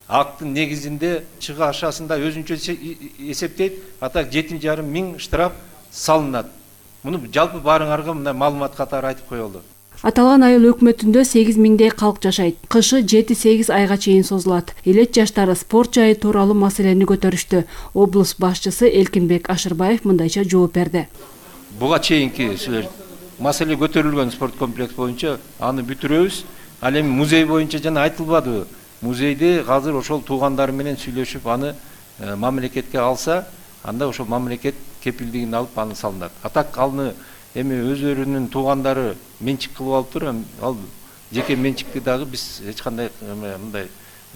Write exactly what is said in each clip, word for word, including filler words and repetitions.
Актын негизинде чыгы ашасында өзүнчө эсептейт, атак жети жарым миң штраф салынат. Муну жалпы баарыңарга мындай маалымат катары айтып коелу. Аталган айыл өкмөтүндө сегиз миңдей калк жашайт. Кышы жети сегиз айга чейин созулат. Элет жаштары спорт жайы тууралуу маселени көтөрүштү. Облус башчысы Элкинбек Ашырбаев мындайча жооп берди. Буга чейинки маселе көтөрүлгөн спорт комплекс боюнча аны бүтүрөбүз. Ал эми музей боюнча жана айтылбадыбы? Музейде азыр ошол туугандары менен сүйлөшүп аны мамлекетке алса, анда ошол мамлекет кепилдигин алып аны салынат. Атак алны эми өздөрүнүн туугандары менчик кылып алыптыр, ал жеке менчикти дагы биз эч кандай мындай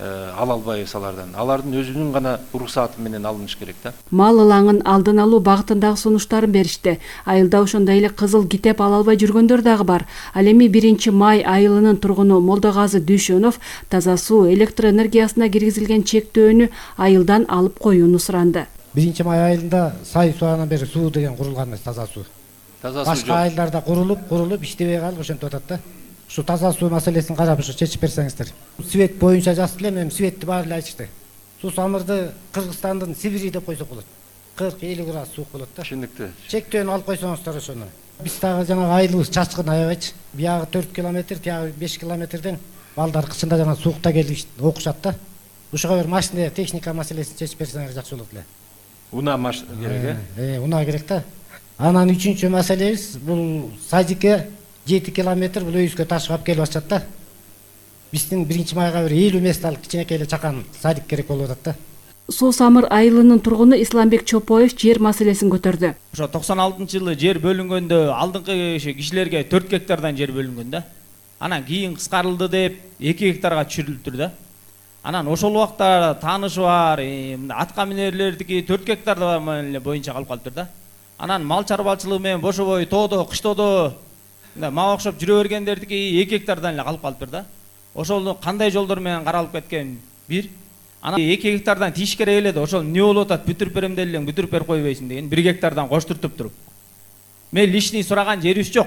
ала албайбыз алардан. Алардын өзүнүн гана уруксаты менен алыныш керек да. Мал ылаңын алдын алуу багытындагы сунуштарын беришти. Айылда ошондой эле кызыл китеп ала албай жүргөндөр дагы бар. Ал эми биринчи май айылынын тургуну Молдогазы Дүйшөнов таза суу электр энергиясына киргизилген чектөөнү айылдан алып коюуну суранды. биринчи май айылында сай суунан бери суу деген курулган эмес, таза суу. Таза суу башка айылдарда курулуп, курулуп иштебей калып ошентип атат да. Ушу таза суу маселесин карап ушу чечип берсеңиздер. Свет боюнча жазып элем, эми светти баары эле айтышты. Суу самырды Кыргызстандын Сибири деп койсок болот. кырк элүү градус суук болот да. Түшүнүктүү. Чектөөнү алып койсоңуздар ошону. Биз дагы жанагы айылыбыз чачкын аябайчы. Биягы төрт километр, тиягы беш километрден балдар кышында жана суукта келип окушат да. Ушуга бир машина техника маселесин чечип берсеңер жакшы болот эле. Унаа маш керек э? Э, унаа керек да. Анан үчүнчү маселебиз бул садикке жети километр бул өйүзгө ташып алып келип атышат да. Биздин биринчи майга бир элүү месталык кичинекей эле чакан садик керек болуп атат да. Суу Самыр айылынын тургуну Исламбек Чопоев жер маселесин көтөрдү. Ошо токсон алтынчы жылы жер бөлүнгөндө алдыңкы кишилерге төрт гектардан жер бөлүнгөн да. Анан кийин кыскарылды деп эки гектарга түшүрүлүптүр да. Анан ошол убакта таанышы бар, атка минерлердики төрт гектар боюнча калып калыптыр да. Анан мал чарбачылыгы менен бошобой тоодо, кыштоодо мага окшоп жүрө бергендердики эки гектардан эле калып калыптыр да. Ошол кандай жолдор менен каралып кеткен бир. Анан эки гектардан тийиш керек эле да, ошол эмне болуп атат, бүтүрүп берем делең, бүтүрүп берип койбойсуң деген бир гектардан коштуртуп туруп. Мен лишний сураган жерибиз жок.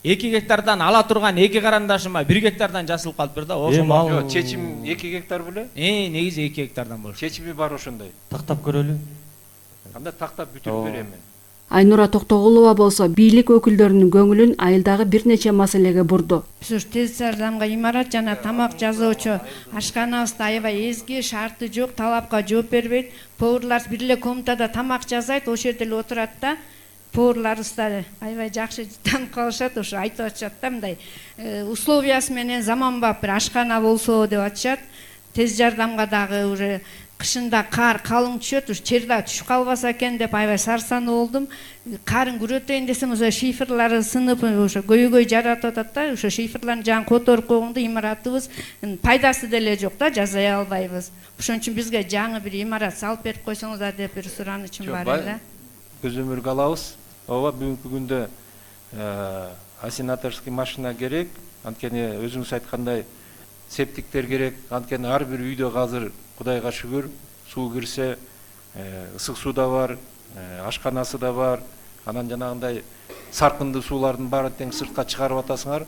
эки гектардан ала турган эки карандашыма бир гектардан жасылып калыптыр да. Ошол мал чечим эки гектар беле? Э, негизи эки гектардан болуш. Чечими бар ошондой. Тактап көрөлү. Кандай тактап бүтүрүп берем мен? Айнура Токтогулова болсо бийлик өкүлдөрүнүн көңүлүн айылдагы бир нече маселеге бурду. Ушу тез жардамга имарат жана тамак жасоочу ашканабызда аябай эзги, шарты жок, талапка жооп бербейт. Поварлар бир эле комнатада тамак жасайт, ошол жерде эле отурат да. Поварларыбыз да аябай жакшы таанып калышат, ошо айтып атышат да, мындай условиясы менен заманбап бир ашкана болсо деп атышат. Тез жардамга дагы уже кышында кар калың түшөт, ушу черда түшүп калбаса экен деп аябай сарсануу болдум. Карын күрөтөйүн десем, ошо шифрлары сынып, ошо көйгөй жаратып атат да, ошо шифрлардын жагын которуп койгондо имаратыбыз пайдасы деле жок да, жасай албайбыз. Ошон үчүн бизге жаңы бир имарат салып берип койсоңуздар деп бир суранычым бар эле. Көзөмөлгө алабыз. Ооба бүгүнкү күндө асенаторский машина керек. Анткени өзүңүз айткандай септиктер керек. Анткени ар бир үйдө азыр Кудайга шүгүр суу кирсе, ысык суу да бар, ашканасы да бар. Анан жанагындай саркынды суулардын баарын тең сыртка чыгарып атасыңар.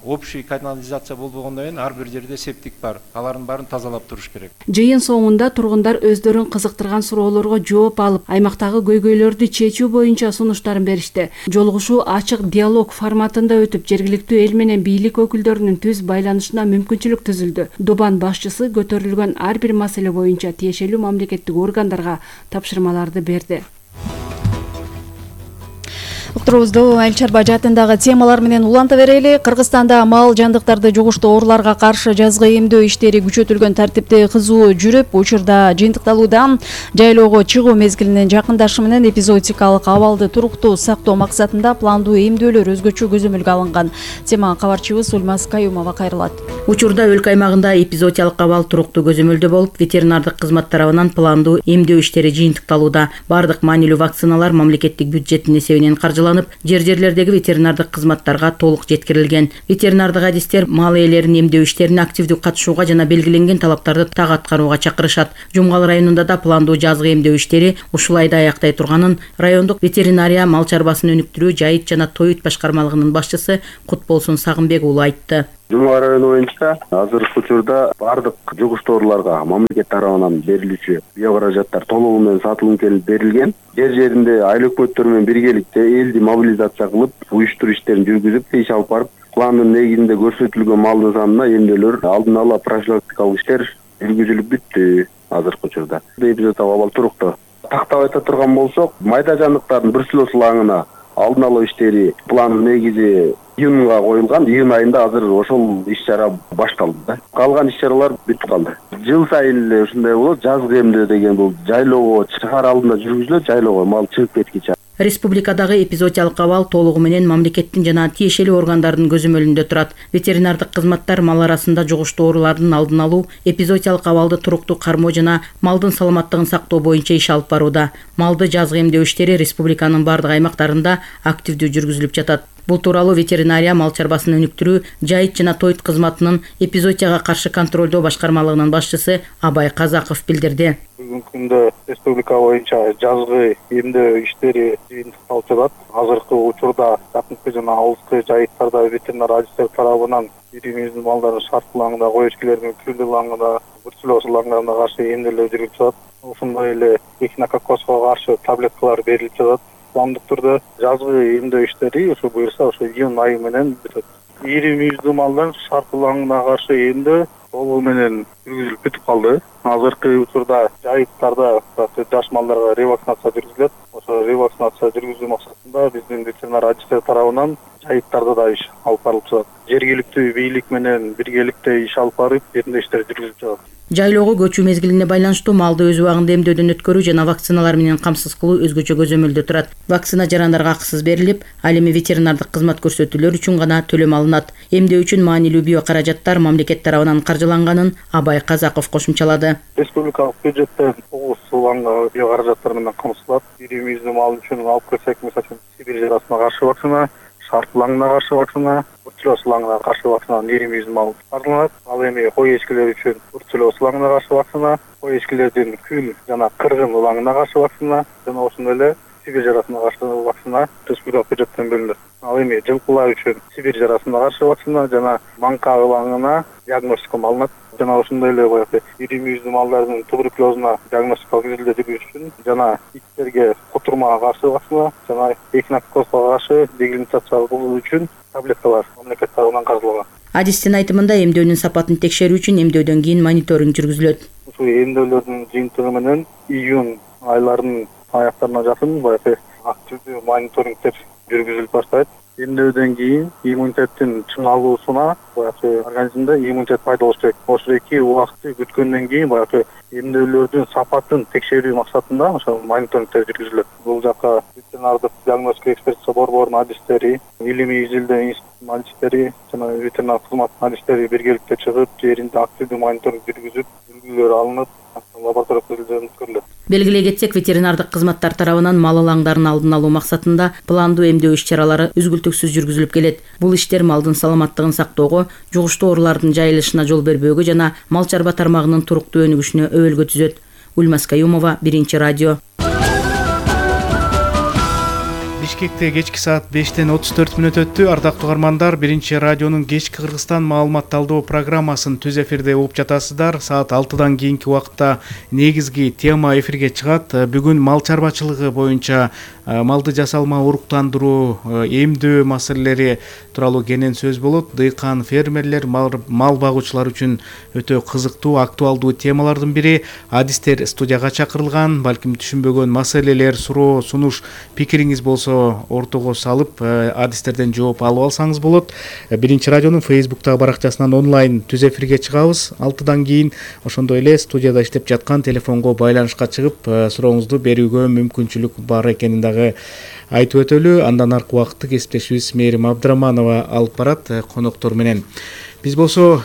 Общий канализация болбогондон кийин ар бир жерде септик бар. Алардын баарын тазалап туруш керек. Жыйын соңунда тургундар өздөрүн кызыктырган суроолорго жооп алып, аймактагы көйгөйлөрдү чечүү боюнча сунуштарын беришти. Жолугушуу ачык диалог форматында өтүп, жергиликтүү эл менен бийлик өкүлдөрүнүн түз байланышына мүмкүнчүлүк түзүлдү. Дубан башчысы көтөрүлгөн ар бир маселе боюнча тиешелүү мамлекеттик органдарга тапшырмаларды берди. Уктурубузду айыл чарба жаатындагы темалар менен уланта берели. Кыргызстанда мал жандыктарды жугуштуу ооруларга каршы жазгы эмдөө иштери күчөтүлгөн тартипте кызуу жүрүп, учурда жыйынтыкталууда. Жайлоого чыгуу мезгилинин жакындашы менен эпизодикалык абалды туруктуу сактоо максатында пландуу эмдөөлөр өзгөчө көзөмөлгө алынган. Тема кабарчыбыз Ульмаз Каюмова кайрылат. Учурда өлкө аймагында эпизодикалык абал туруктуу көзөмөлдө болуп, ветеринардык кызмат тарабынан пландуу эмдөө иштери жыйынтыкталууда. Бардык маанилүү вакциналар мамлекеттик бюджеттин эсебинен каржыланып, жер-жерлердеги ветеринардык кызматтарга толук жеткирилген. Ветеринардык адистер мал ээлерин эмдөө иштерине активдүү катышууга жана белгиленген талаптарды так аткарууга чакырышат. Жумгал районунда да пландуу жазгы эмдөө иштери ушул айда аяктай турганын райондук ветеринария мал чарбасын өнүктүрүү, жайыт жана тоют башкармалыгынын башчысы Кутболсун Сагынбек уулу айтты. Жумга району боюнча азыркы учурда бардык жугуштуу ооруларга мамлекет тарабынан берилүүчү биокаражаттар толугу менен сатылым келип берилген. Жер жеринде айыл өкмөттөр менен биргеликте элди мобилизация кылып, уюштуруу иштерин жүргүзүп, иш алып барып, пландын негизинде көрсөтүлгөн малдын санына эмнелер алдын ала профилактикалык иштер жүргүзүлүп бүттү азыркы учурда. Эпизоддогу абал туруктуу. Тактап айта турган болсок, майда жандыктардын бруцеллоз алдын алуу иштери пландын негизи июнга коюлган. Июнь айында азыр ошол иш-чара башталды да. Калган иш-чаралар бүтүп калды. Жыл сайын эле ушундай болот. Жазгы эмдөө деген бул жайлоого чыгаар алдында жүргүзүлөт, жайлоого мал чыгып кеткиче. Республикадагы эпизоотиялык абал толугу менен мамлекеттин жана тиешелүү органдардын көзөмөлүндө турат. Ветеринардык кызматтар мал арасында жугуштуу оорулардын алдын алуу, эпизоотиялык абалды туруктуу кармоо жана малдын саламаттыгын сактоо боюнча иш алып барууда. Малды жазгы эмдөө иштери республиканын бардык аймактарында активдүү жүргүзүлүп жатат. Бул тууралуу ветеринария мал чарбасын өнүктүрүү, жайыт жана тойт кызматынын эпизоотияга каршы контролдоо башкармалыгынын башчысы Абай Казаков билдирди. Бүгүнкү күндө республика боюнча жазгы эмдөө иштери жыйынтыкталып жатат. Азыркы учурда жакынкы жана алыскы жайыттарда ветеринар адистер тарабынан ирим-изим малдардын шартлаңында, кой эчкилеринин күлдүлаңында, бруцеллоз лаңдарына каршы эмделүү жүрүлүп жатат. Ошондой эле эхинококкозго каршы таблеткалар берилип жатат. Пландык түрдө жазгы эмдөө иштери ошо буюрса ошо июнь айы менен бүтөт. Ирим-изим малдын шартлаңына каршы эмдөө толугу менен жүргүзүлүп бүтүп калды. Азыркы учурда жайыттарда жаш малдарга ревакцинация жүргүзүлөт. Ошо ревакцинация жүргүзүү максатында биздин ветеринар адистер тарабынан жайыттарда да иш алып барылып жатат. Жергиликтүү бийлик менен биргеликте иш алып барып, жеринде иштер жүргүзүлүп жатат. Жайлоого көчүү мезгилине байланыштуу малды өз убагында эмдөөдөн өткөрүү жана вакциналар менен камсыз кылуу өзгөчө көзөмөлдө турат. Вакцина жарандарга акысыз берилип, ал эми ветеринардык кызмат көрсөтүүлөр үчүн гана төлөм алынат. Эмдөө үчүн маанилүү биокаражаттар мамлекет тарабынан каржыланганын Абай Казаков кошумчалады. Республикалык бюджеттен тогуз суланга биокаражаттар менен камсыздалат. Ирим-изим мал үчүн алып келсек, мисалы Сибирь жарасына каршы вакцина, шартлаңына каршы вакцина, бруцеллоз лаңына каршы вакцина ирим-изим мал каржыланат. Ал эми кой эчкилер үчүн бруцеллоз лаңына каршы вакцина, кой эчкилердин күл жана кыргын лаңына каршы вакцина жана ошондой эле Сибирь жарасына каршы вакцина республикалык бюджеттен бөлүнөт. Ал эми жылкылар үчүн Сибирь жарасына каршы вакцина жана манка лаңына диагностика алынат. Жана ошондой эле баягы ирим-изим малдардын туберкулезуна диагностикалык изилдөө жүргүзүш үчүн жана иттерге кутурмага каршы вакцина жана эхинококкозго каршы дегилимитация кылуу үчүн таблеткалар мамлекет тарабынан каржыланган. Адистин айтымында эмдөөнүн сапатын текшерүү үчүн эмдөөдөн кийин мониторинг жүргүзүлөт. Ушул эмдөөлөрдүн жыйынтыгы менен июнь айларынын аяктарына жакын баягы активдүү мониторингдер жүргүзүлүп баштайт. Эмдөөдөн кийин иммунитеттин чыңалуусуна баягы организмде иммунитет пайда болуш керек. Ошо эки убакытты күткөндөн кийин баягы эмдөөлөрдүн сапатын текшерүү максатында ошо мониторингдер жүргүзүлөт. Бул жака ветеринардык диагностика экспертиза борборунун адистери, илимий изилдөө институтунун адистери жана ветеринар кызматтын адистери биргеликте чыгып, жеринде активдүү мониторинг жүргүзүп, үлгүлөр алынып, лаборатория изилдөө өткөрүлөт. Белгилей кетсек, ветеринардык кызматтар тарабынан мал лаңдарын алдын алуу максатында пландуу эмдөө иш-чаралары үзгүлтүксүз жүргүзүлүп келет. Бул иштер малдын саламаттыгын сактоого, жугуштуу оорулардын жайылышына жол бербөөгө жана мал чарба тармагынын туруктуу өнүгүшүнө өбөлгө түзөт. Ульмас Каюмова, Биринчи радио. Бишкекте кечки саат бештен отуз төрт мүнөт өттү. Ардактуу угармандар, Биринчи радионун кечки Кыргызстан маалыматталдоо программасын түз эфирде угуп жатасыздар. Саат алтыдан кийинки убакытта негизги тема эфирге чыгат. Бүгүн мал чарбачылыгы боюнча малды жасалма уруктандыруу, эмдөө маселелери тууралуу кенен сөз болот. Дыйкан фермерлер, мал багуучулар үчүн өтө кызыктуу, актуалдуу темалардын бири. Адистер студияга чакырылган. Балким түшүнбөгөн маселелер, суроо, сунуш, пикириңиз болсо ортого салып, адистерден жооп алып алсаңыз болот. Биринчи радионун фейсбуктагы баракчасынан онлайн түз эфирге чыгабыз алтыдан кийин. Ошондой эле студияда иштеп жаткан телефонго байланышка чыгып, сурооңузду берүүгө мүмкүнчүлүк бар экенин дагы айтып өтөлү. Андан аркы убакытты кесиптешибиз Мээрим Абдыраманова алып барат коноктор менен. Биз болсо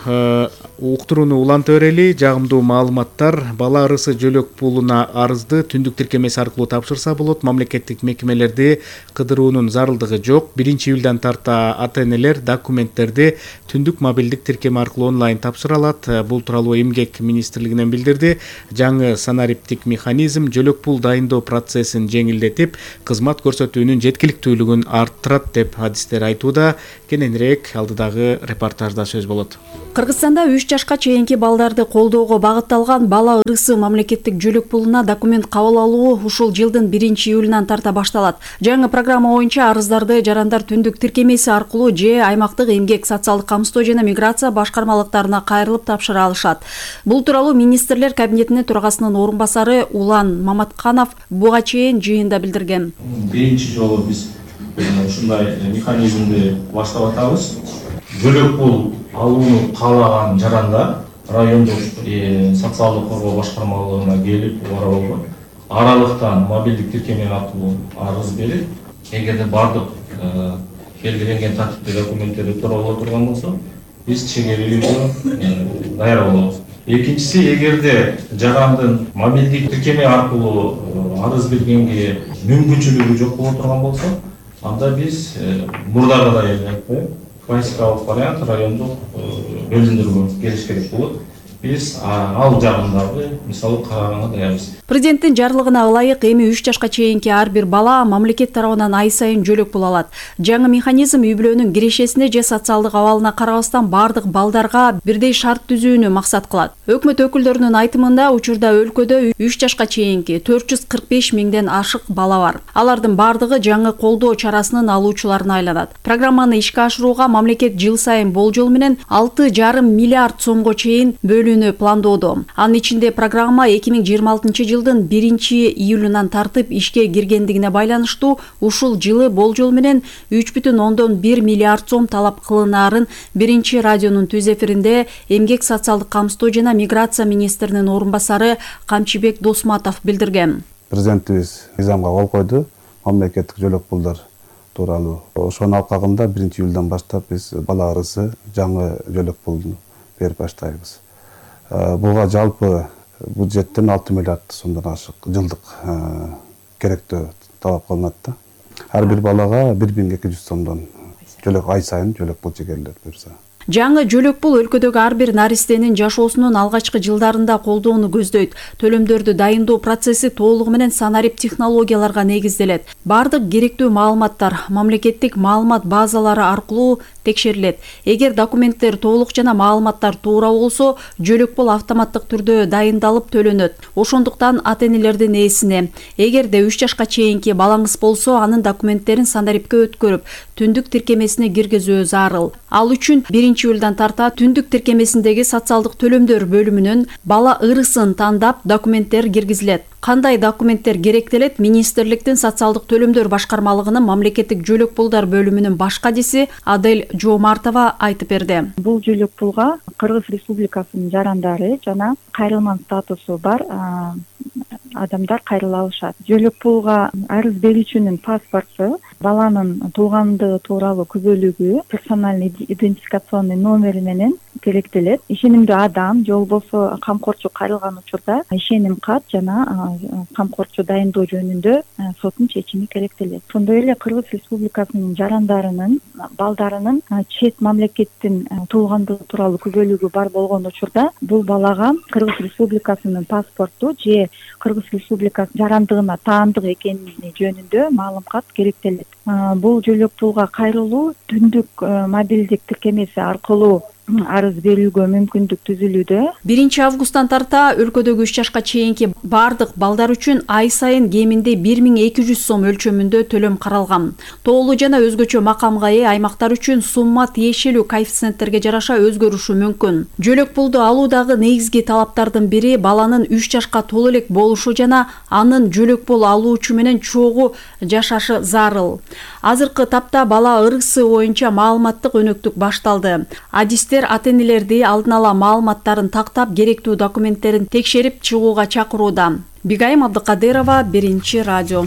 уктурууну уланта берели. Жагымдуу маалыматтар. Бала арысы жөлөк пулуна арызды түндүк тиркемеси аркылуу тапшырса болот. Мамлекеттик мекемелерде кыдыруунун зарылдыгы жок. Биринчи июлдан тарта ата-энелер документтерди түндүк мобилдик тиркеме аркылуу онлайн тапшыра алат. Бул тууралуу Эмгек министрлигинен билдирди. Жаңы санариптик механизм жөлөк пул дайындоо процессин жеңилдетип, кызмат көрсөтүүнүн жеткиликтүүлүгүн арттырат деп адистер айтууда. Кененирээк алдыдагы репортажда сөз берсеңиз болот. Кыргызстанда үч жашка чейинки балдарды колдоого багытталган бала ырысы мамлекеттик жөлөк пулуна документ кабыл алуу ушул жылдын биринчи июлунан тарта башталат. Жаңы программа боюнча арыздарды жарандар түндүк тиркемеси аркылуу же аймактык эмгек, социалдык камсыздоо жана миграция башкармалыктарына кайрылып тапшыра алышат. Бул тууралуу министрлер кабинетинин төрагасынын орун басары Улан Маматканов буга чейин жыйында билдирген. Биринчи жолу биз ушундай механизмди баштап атабыз. Жөлөк пул алууну каалаган жарандар райондук социалдык коргоо башкармалыгына келип убара болгон аралыктан мобилдик тиркеме аркылуу арыз берип, эгерде бардык белгиленген тартипте документтери туура боло турган болсо, биз чегерүүгө даяр болобуз. Экинчиси, эгерде жарандын мобилдик тиркеме аркылуу арыз бергенге мүмкүнчүлүгү жок боло турган болсо, анда биз мурдагыдай эле классикалык вариант райондук бөлүндүрүүгө келиш керек болот. Биз ал жагындагы мисалы караганга даярбыз. Президенттин жарлыгына ылайык эми үч жашка чейинки ар бир бала мамлекет тарабынан ай сайын жөлөк пул алат. Жаңы механизм үй-бүлөнүн кирешесине же социалдык абалына карабастан бардык балдарга бирдей шарт түзүүнү максат кылат. Өкмөт өкүлдөрүнүн айтымында учурда өлкөдө үч жашка чейинки төрт жүз кырк беш миңден ашык бала бар. Алардын бардыгы жаңы колдоо чарасынын алуучуларына айланат. Программаны ишке ашырууга мамлекет жыл сайын болжол менен алты жарым миллиард сомго чейин бөлүүнү пландоодо. Анын ичинде программа эки миң жыйырма алтынчы жылдын биринчи июлунан тартып ишке киргендигине байланыштуу ушул жылы болжол менен үч бүтүн ондон бир миллиард сом талап кылынаарын биринчи радионун түз эфиринде эмгек, социалдык камсыздоо жана миграция министринин орун басары Камчыбек Досматов билдирген. Президентибиз мыйзамга кол койду. Мамлекеттик жөлөк пулдар тууралуу. Ошонун алкагында биринчи июлдан баштап биз бала арысы жаңы жөлөк пулун берип баштайбыз. Буга жалпы бюджеттен алты миллиард сомдон ашык жылдык керектөө талап кылынат да. Ар бир балага бир миң эки жүз сомдон жөлөк ай сайын жөлөк пул чегерилет буюрса. Жаңы жөлөк пул өлкөдөгү ар бир наристенин жашоосунун алгачкы жылдарында колдоону көздөйт. Төлөмдөрдү дайындоо процесси толугу менен санарип технологияларга негизделет. Бардык керектүү маалыматтар мамлекеттик маалымат базалары аркылуу текшерилет. Эгер документтер толук жана маалыматтар туура болсо, жөлөк пул автоматтык түрдө дайындалып төлөнөт. Ошондуктан ата-энелердин ээсине, эгерде үч жашка чейинки балаңыз болсо, анын документтерин санарипке өткөрүп, түндүк тиркемесине киргизүү зарыл. Ал үчүн биринчи июлдан тарта түндүк тиркемесиндеги социалдык төлөмдөр бөлүмүнөн бала ырысын тандап документтер киргизилет. Кандай документтер керектелет? Министрликтин социалдык төлөмдөр башкармалыгынын мамлекеттик жөлөк пулдар бөлүмүнүн баш кадиси Адель Жоомартова айтып берди. Бул жөлөк пулга Кыргыз Республикасынын жарандары жана кайрылман статусу бар адамдар кайрыла алышат. Жөлөк пулга арыз берүүчүнүн паспорту, баланын туугандыгы тууралуу күбөлүгү, персональный идентификационный номери менен керектелет. Ишенимдүү адам же болбосо камкорчу кайрылган учурда ишеним кат жана камкорчу дайындоо жөнүндө соттун чечими керектелет. Ошондой эле Кыргыз Республикасынын жарандарынын, балдарынын чет мамлекеттин туугандыгы тууралуу күбөлүгү бар болгон учурда бул балага Кыргыз Республикасынын паспорту же Кыргыз Республикасы жарандыгына таандык экени жөнүндө маалымат керектелет. Бул жөлөк пулга кайрылуу түндүк мобилдик тиркемеси аркылуу арыз берүүгө мүмкүндүк түзүлүүдө. биринчи августтан тарта өлкөдөгү үч жашка чейинки бардык балдар үчүн ай сайын кеминде бир миң эки жүз сом өлчөмүндө төлөм каралган. Тоолуу жана өзгөчө макамга ээ аймактар үчүн сумма тиешелүү коэффициенттерге жараша өзгөрүшү мүмкүн. Жөлөк пулду алуудагы негизги талаптардын бири баланын үч жашка толо элек болушу жана анын жөлөк пул алуучу менен чогуу жашашы зарыл. Азыркы тапта бала ырысы боюнча маалыматтык өнөктүк башталды. Адистер ата-энелерди алдын ала маалыматтарын тактап, керектүү документтерин текшерип чыгууга чакырууда. Бигайым Абдыкадырова, биринчи радио.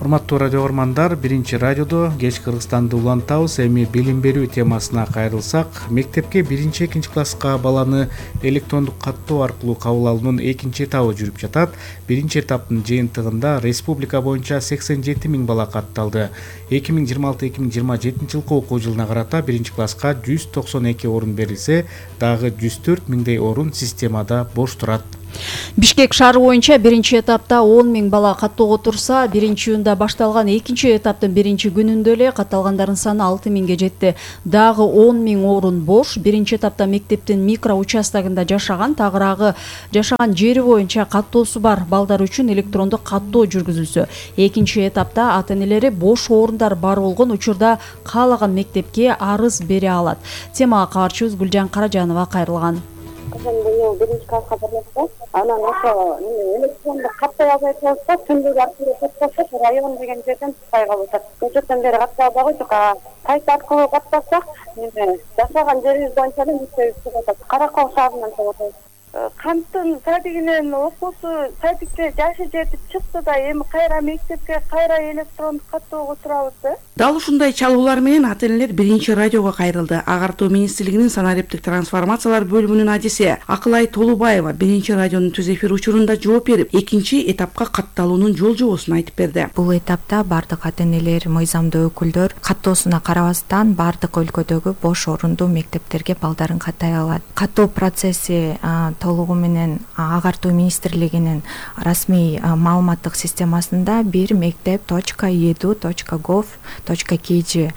Урматтуу радио көрөрмандар, биринчи радиодо кеч Кыргызстанды улантабыз. Эми билим берүү темасына кайрылсак, мектепке биринчи экинчи класска баланы электрондук каттоо аркылуу кабыл алуунун экинчи этабы жүрүп жатат. Биринчи этаптын жыйынтыгында республика боюнча сексен жети миң бала катталды. эки миң жыйырма алты эки миң жыйырма жетинчи жылкы окуу жылына карата биринчи класска жүз токсон эки орун берилсе, дагы жүз төрт миңдей орун системада бош турат. Бишкек шаары боюнча биринчи этапта он миң бала каттоого турса, биринчи июнда башталган экинчи этаптын биринчи күнүндө эле катталгандардын саны алты миңге жетти. Дагы он миң орун бош. Биринчи этапта мектептин микро участогунда жашаган, тагыраагы жашаган жери боюнча каттоосу бар балдар үчүн электрондук каттоо жүргүзүлсө, экинчи этапта ата-энелери бош орундар бар болгон учурда каалаган мектепке арыз бере алат. Темага кабарчыбыз Гүлжан Каражанова кайрылган. Кызым быйыл биринчи класска бармакчы. Анан ошо электрондук каттай албай калса, түндүк аркылуу каттасак, район деген жерден тукпай калып атат. Көчөттөн бери каттай албай жок. Сайт аркылуу каттасак, жашаган жерибиз боюнча эле мектебибиз чыгып атат. Каракол шаарынан чыгып атат. Канттын садигинен окуусу садикте жашы жетип чыкты да, эми кайра мектепке, кайра электрондук каттоого турабыз да. Дал ушундай чалуулар менен ата-энелер биринчи радиого кайрылды. Агартуу министрлигинин санариптик трансформациялар бөлүмүнүн адиси Акылай Толубаева биринчи радионун түз эфир учурунда жооп берип, экинчи этапка катталуунун жол жобосун айтып берди. Бул этапта бардык ата-энелер, мыйзамдуу өкүлдөр каттоосуна карабастан бардык өлкөдөгү бош орундуу мектептерге балдарын каттай алат. Каттоо процесси толугу менен агартуу министрлигинин расмий маалыматтык системасында бир мектеп точка edu точка gov точка kg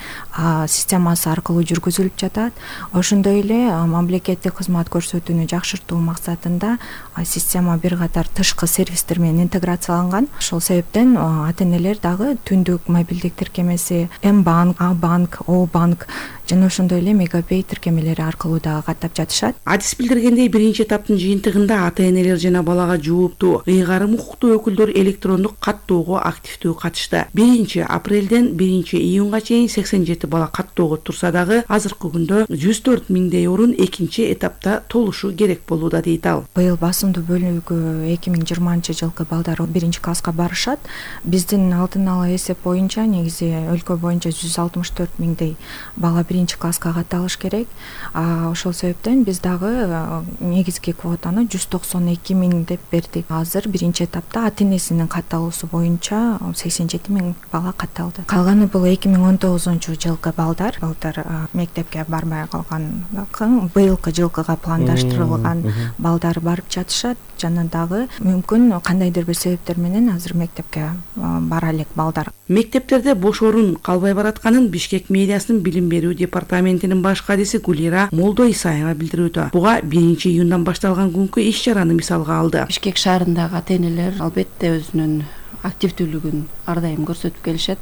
системасы аркылуу жүргүзүлүп жатат. Ошондой эле мамлекеттик кызмат көрсөтүүнү жакшыртуу максатында система бир катар тышкы сервистер менен интеграцияланган. Ошол себептен ата-энелер дагы түндүк мобилдик тиркемеси М-банк, А-банк, О-банк жана ошондой эле Мегапей тиркемелери аркылуу дагы каттап жатышат. Адис билдиргендей, биринчи этаптын жыйынтыгында ата-энелер жана балага жооптуу ыйгарым укуктуу өкүлдөр электрондук каттоого активдүү катышты. биринчи апрелден биринчи июнга чейин сексен жети бала каттоого турса дагы азыркы күндө жүз төрт миңдей орун экинчи этапта толушу керек болууда, дейт ал. Быйыл басымдуу бөлүгү эки миң жыйырманчы жылкы балдар биринчи класска барышат. Биздин алдын ала эсеп боюнча негизи өлкө боюнча жүз алтымыш төрт миңдей бала биринчи класска катталыш керек. Ошол себептен биз дагы негизги квотаны жүз токсон эки миң деп бердик. Азыр биринчи этапта ата-энесинин катталуусу боюнча сексен жети миң бала катталды. Калганы бул эки миң он тогузунчу жылкы балдар. Балдар мектепке барбай калган, быйылкы жылкыга пландаштырылган балдар барып жатышат. Жана дагы мүмкүн кандайдыр бир себептер менен азыр мектепке бара элек балдар. Мектептерде бош орун калбай баратканын Бишкек мэриясынын билим берүү департаментинин баш кадиси Гулира Молдо Исаева билдирүүдө. Буга биринчи июндан башталган күнкү иш чараны мисалга алды. Бишкек шаарындагы ата-энелер албетте өзүнүн активдүүлүгүн ар дайым көрсөтүп келишет.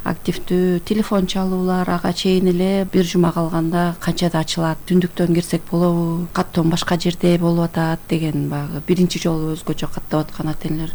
Активдүү телефон чалуулар ага чейин эле бир жума калганда канчада ачылат, түндүктөн кирсек болобу, каттоом башка жерде болуп атат деген баягы биринчи жолу өзгөчө каттап аткан ата-энелер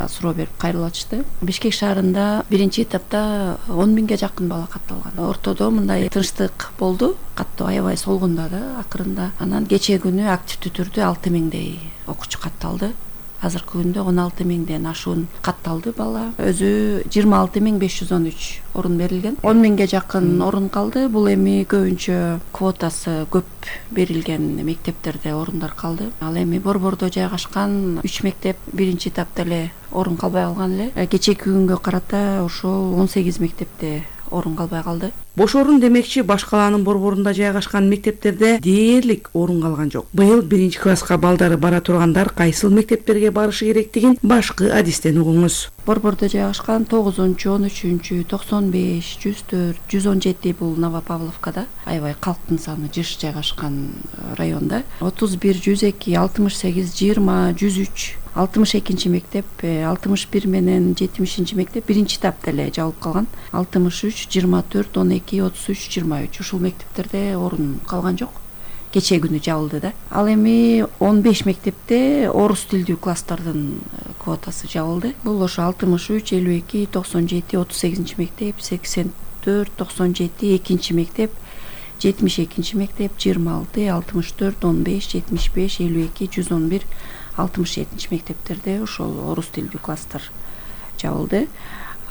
суроо берип кайрылып атышты. Бишкек шаарында биринчи этапта он миңге жакын бала катталган. Ортодо мындай тынчтык болду, каттоо аябай солгунда да акырында. Анан кечээ күнү активдүү түрдө алты миңдей окуучу катталды. Азыркы күндө он алты миңден ашуун катталды бала. Өзү жыйырма алты миң беш жүз он үч орун берилген. он миңге жакын орун калды. Бул эми көбүнчө квотасы көп берилген мектептерде орундар калды. Ал эми Борбордо жайгашкан үч мектеп биринчи этапта эле орун калбай калган эле. Кечээки күнгө карата ошол он сегиз мектепте орун калбай калды. Бош орун демекчи баш калаанын борборунда жайгашкан мектептерде дээрлик орун калган жок. Быйыл биринчи класска балдары бара тургандар кайсыл мектептерге барышы керектигин башкы адистен угуңуз. Борбордо жайгашкан тогузунчу, он үчүнчү, токсон беш, жүз төрт, жүз он жети бул Новопавловкада, аябай калктын саны жыш жайгашкан районда. отуз бир, жүз эки, алтымыш сегиз, жыйырма, жүз үч, алтымыш экинчи мектеп, алтымыш бир менен жетимишинчи мектеп биринчи этапта эле жабылып калган. алтымыш үч, жыйырма төрт, он эки, отуз үч, жыйырма үч ушул мектептерде орун калган жок. Кечээ күнү жабылды да. Ал эми он беш мектепте орус тилдүү класстардын квотасы жабылды. Бул ошо алтымыш үч, элүү эки, токсон жети, отуз сегизинчи мектеп, сексен төрт, токсон жети, экинчи мектеп, жетимиш экинчи мектеп, жыйырма алты, алтымыш төрт, он беш, жетимиш беш, элүү эки, жүз он бир, алтымыш жетинчи мектептерде ошол орус тилдүү класстар жабылды.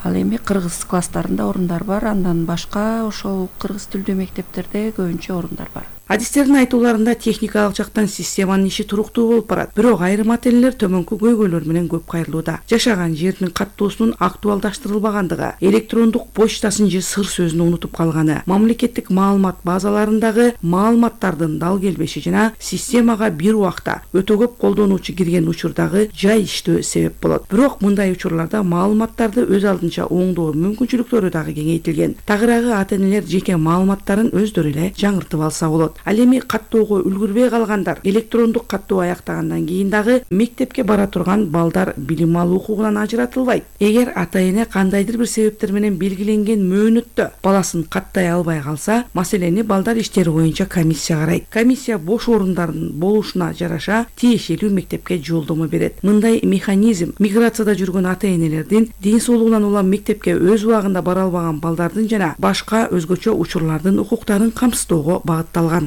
Ал эми кыргыз класстарында орундар бар, андан башка ошол кыргыз тилдүү мектептерде көбүнчө орундар бар. Адистердин айтууларында техникалык жактан системанын иши туруктуу болуп барат, бирок айрым ата энелер төмөнкү көйгөйлөр менен көп кайрылууда. Жашаган жеринин каттоосунун актуалдаштырылбагандыгы, электрондук почтасын же сыр сөзүн унутуп калганы, мамлекеттик маалымат базаларындагы маалыматтардын дал келбеши жана системага бир убакта өтө көп колдонуучу кирген учурдагы жай иштөө себеп болот. Бирок мындай учурларда маалыматтарды өз алдынча оңдоо мүмкүнчүлүктөрү дагы кеңейтилген. Тагыраагы ата энелер жеке маалыматтарын өздөрү эле жаңыртып алса болот. Ал эми каттоого үлгүрбөй калгандар электрондук каттоо аяктагандан кийин дагы мектепке бара турган балдар билим алуу укугунан ажыратылбайт. Эгер ата эне кандайдыр бир себептер менен белгиленген мөөнөттө баласын каттай албай калса, маселени балдар иштери боюнча комиссия карайт. Комиссия бош орундардын болушуна жараша тиешелүү мектепке жолдомо берет. Мындай механизм миграцияда жүргөн ата энелердин ден соолугунан улам мектепке өз убагында бара албаган балдардын жана башка өзгөчө учурлардын укуктарын камсыздоого багытталган.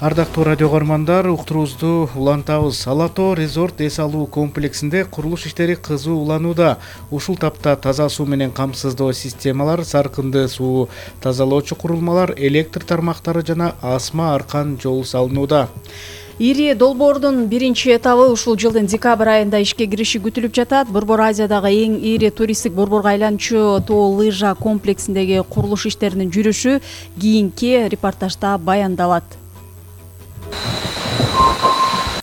Ардактуу радио көрөрмандар, уктуруубузду улантабыз. Ала Тоо резорт эс алуу комплексинде курулуш иштери кызуу уланууда. Ушул тапта таза суу менен камсыздоо системалар, саркынды суу тазалоочу курулмалар, электр тармактары жана асма аркан жол салынууда. Ири долбоордун биринчи этабы ушул жылдын декабрь айында ишке кириши күтүлүп жатат. Борбор Азиядагы эң ири туристтик борборго айланчу тоо лыжа комплексиндеги курулуш иштеринин жүрүшү кийинки репортажда баяндалат.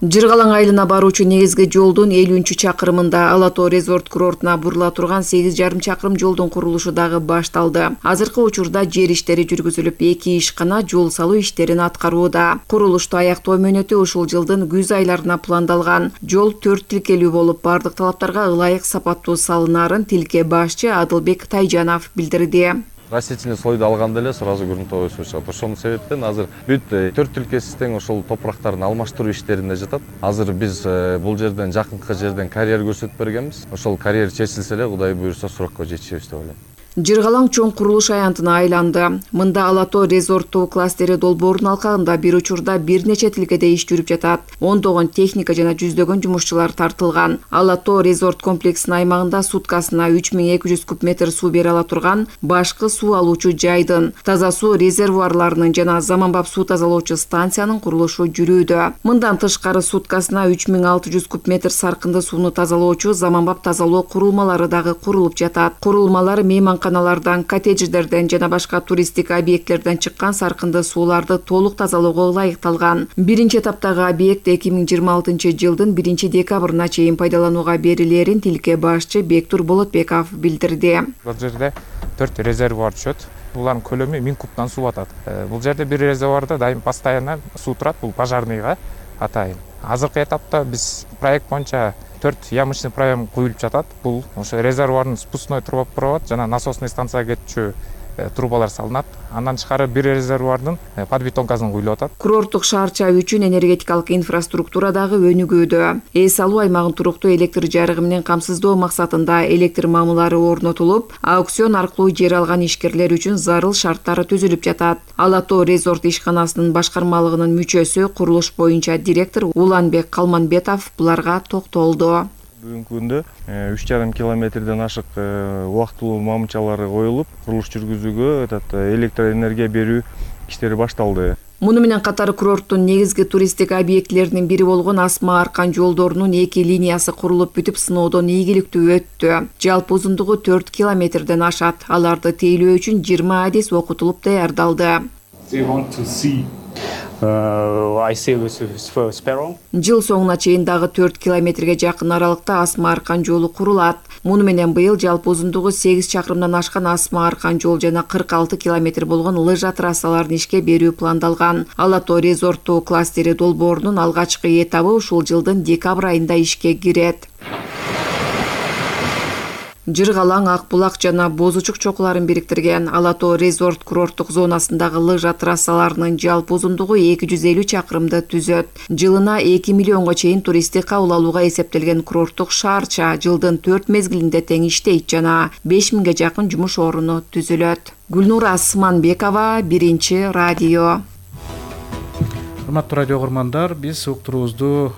Жыргалаң айылына баруучу негизги жолдун элүүнчү чакырымында Ала Тоо резорт курортуна бурула турган сегиз жарым чакырым жолдун курулушу дагы башталды. Азыркы учурда жер иштери жүргүзүлүп, эки ишкана жол салуу иштерин аткарууда. Курулушту аяктоо мөөнөтү ушул жылдын күз айларына пландалган. Жол төрт тилкелүү болуп, бардык талаптарга ылайык сапаттуу салынаарын тилке башчы Адылбек Тайжанов билдирди. Растительный слойду алганда эле сразу грунтовый суу чыгат. Ошонун себептен азыр бүт төрт тилкеси тең ошол топурактардын алмаштыруу иштеринде жатат. Азыр биз бул жерден жакынкы жерден карьер көрсөтүп бергенбиз. Ошол карьер чечилсе эле Кудай буйрса срокко жетишебиз деп ойлойм. Жыргалаң чоң курулуш аянтына айланды. Мында Ала Тоо резорттуу кластери долбоорунун алкагында бир учурда бир нече тилкеде иш жүрүп жатат. Ондогон техника жана жүздөгөн жумушчулар тартылган. Ала Тоо резорт комплексинин аймагында суткасына үч миң эки жүз куб метр суу бере ала турган башкы суу алуучу жайдын, таза суу резервуарларынын жана заманбап суу тазалоочу станциянын курулушу жүрүүдө. Мындан тышкары суткасына үч миң алты жүз куб метр саркынды сууну тазалоочу заманбап тазалоо курулмалары дагы курулуп жатат. Курулмалар мейман каналардан, коттедждерден жана башка туристтик объекттерден чыккан саркынды сууларды толук тазалоого ылайыкталган. Биринчи этаптагы объект эки миң жыйырма алтынчы жылдын биринчи декабрына чейин пайдаланууга берилерин тилке башчы Бектур Болотбеков билдирди. Бул жерде төрт резервуар түшөт. Булардын көлөмү миң кубтан суу атат. Бул жерде бир резервуарда дайым постоянно суу турат, бул пожарныйга атайын. Азыркы этапта биз проект боюнча төрт ямочный проем куюлуп жатат. Бул ошо резервуардын спускной трубопровод жана насосный станцияга кетчү трубалар салынат. Андан тышкары бир резервуардын подбетонкасын куюлуп атат. Курорттук шаарча үчүн энергетикалык инфраструктура дагы өнүгүүдө. Эс алуу аймагын туруктуу электр жарыгы менен камсыздоо максатында электр мамылары орнотулуп, аукцион аркылуу жер алган ишкерлер үчүн зарыл шарттар түзүлүп жатат. Ала Тоо резорт ишканасынын башкармалыгынын мүчөсү, курулуш боюнча директор Уланбек Калманбетов буларга токтолду. Бүгүнкү күндө үч жарым километрден ашык убактылуу мамычалары коюлуп, курулуш жүргүзүүгө электр энергия берүү иштери башталды. Муну менен катар курорттун негизги туристтик объектилеринин бири болгон Асма Аркан жолдорунун эки линиясы курулуп бүтүп, сыноодон ийгиликтүү өттү. Жалпы узундугу төрт километрден ашат. Аларды тейлөө үчүн жыйырма адис окутулуп даярдалды. Жыл соңуна чейин дагы төрт километрге жакын аралыкта Асма Аркан жолу курулат. Муну менен быйыл жалпы узундугу сегиз чакырымдан ашкан Асма Аркан жол жана кырк алты километр болгон лыжа трассаларын ишке берүү пландалган. Ала Тоо резорттуу кластери долбоорунун алгачкы этабы ушул жылдын декабрь айында ишке кирет. Жыргалаң, Акбулак жана Бозучук чокуларын бириктирген Ала Тоо резорт курорттук зонасындагы лыжа трассаларынын жалпы узундугу эки жүз элүү чакырымды түзөт. Жылына эки миллионго чейин туристти кабыл алууга эсептелген курорттук шаарча жылдын төрт мезгилинде тең иштейт жана беш миңге жакын жумуш оруну түзүлөт. Гүлнура Асманбекова, Биринчи радио. Урматтуу радио көрмандар, биз уктуруубузду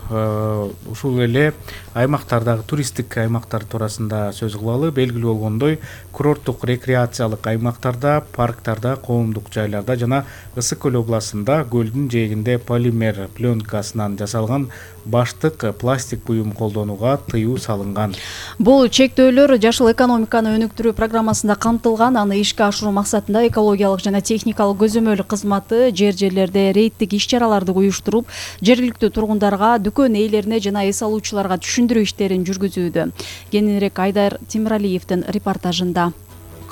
ушул эле аймактардагы туристтик аймактар туурасында сөз кылалы. Белгилүү болгондой, курорттук рекреациялык аймактарда, парктарда, коомдук жайларда жана Ысык көл областында көлдүн жээгинде полимер пленкасынан жасалган баштык пластик буюм колдонууга тыюу салынган. Бул чектөөлөр жашыл экономиканы өнүктүрүү программасында камтылган. Аны ишке ашыруу максатында экологиялык жана техникалык көзөмөл кызматы жер жерлерде рейдтик иш-чараларды уюштуруп, жергиликтүү тургундарга, дүкөн ээлерине жана эс алуучуларга түшүндүрүү иштерин жүргүзүүдө. Кененирээк Айдар Темиралиевдин репортажында.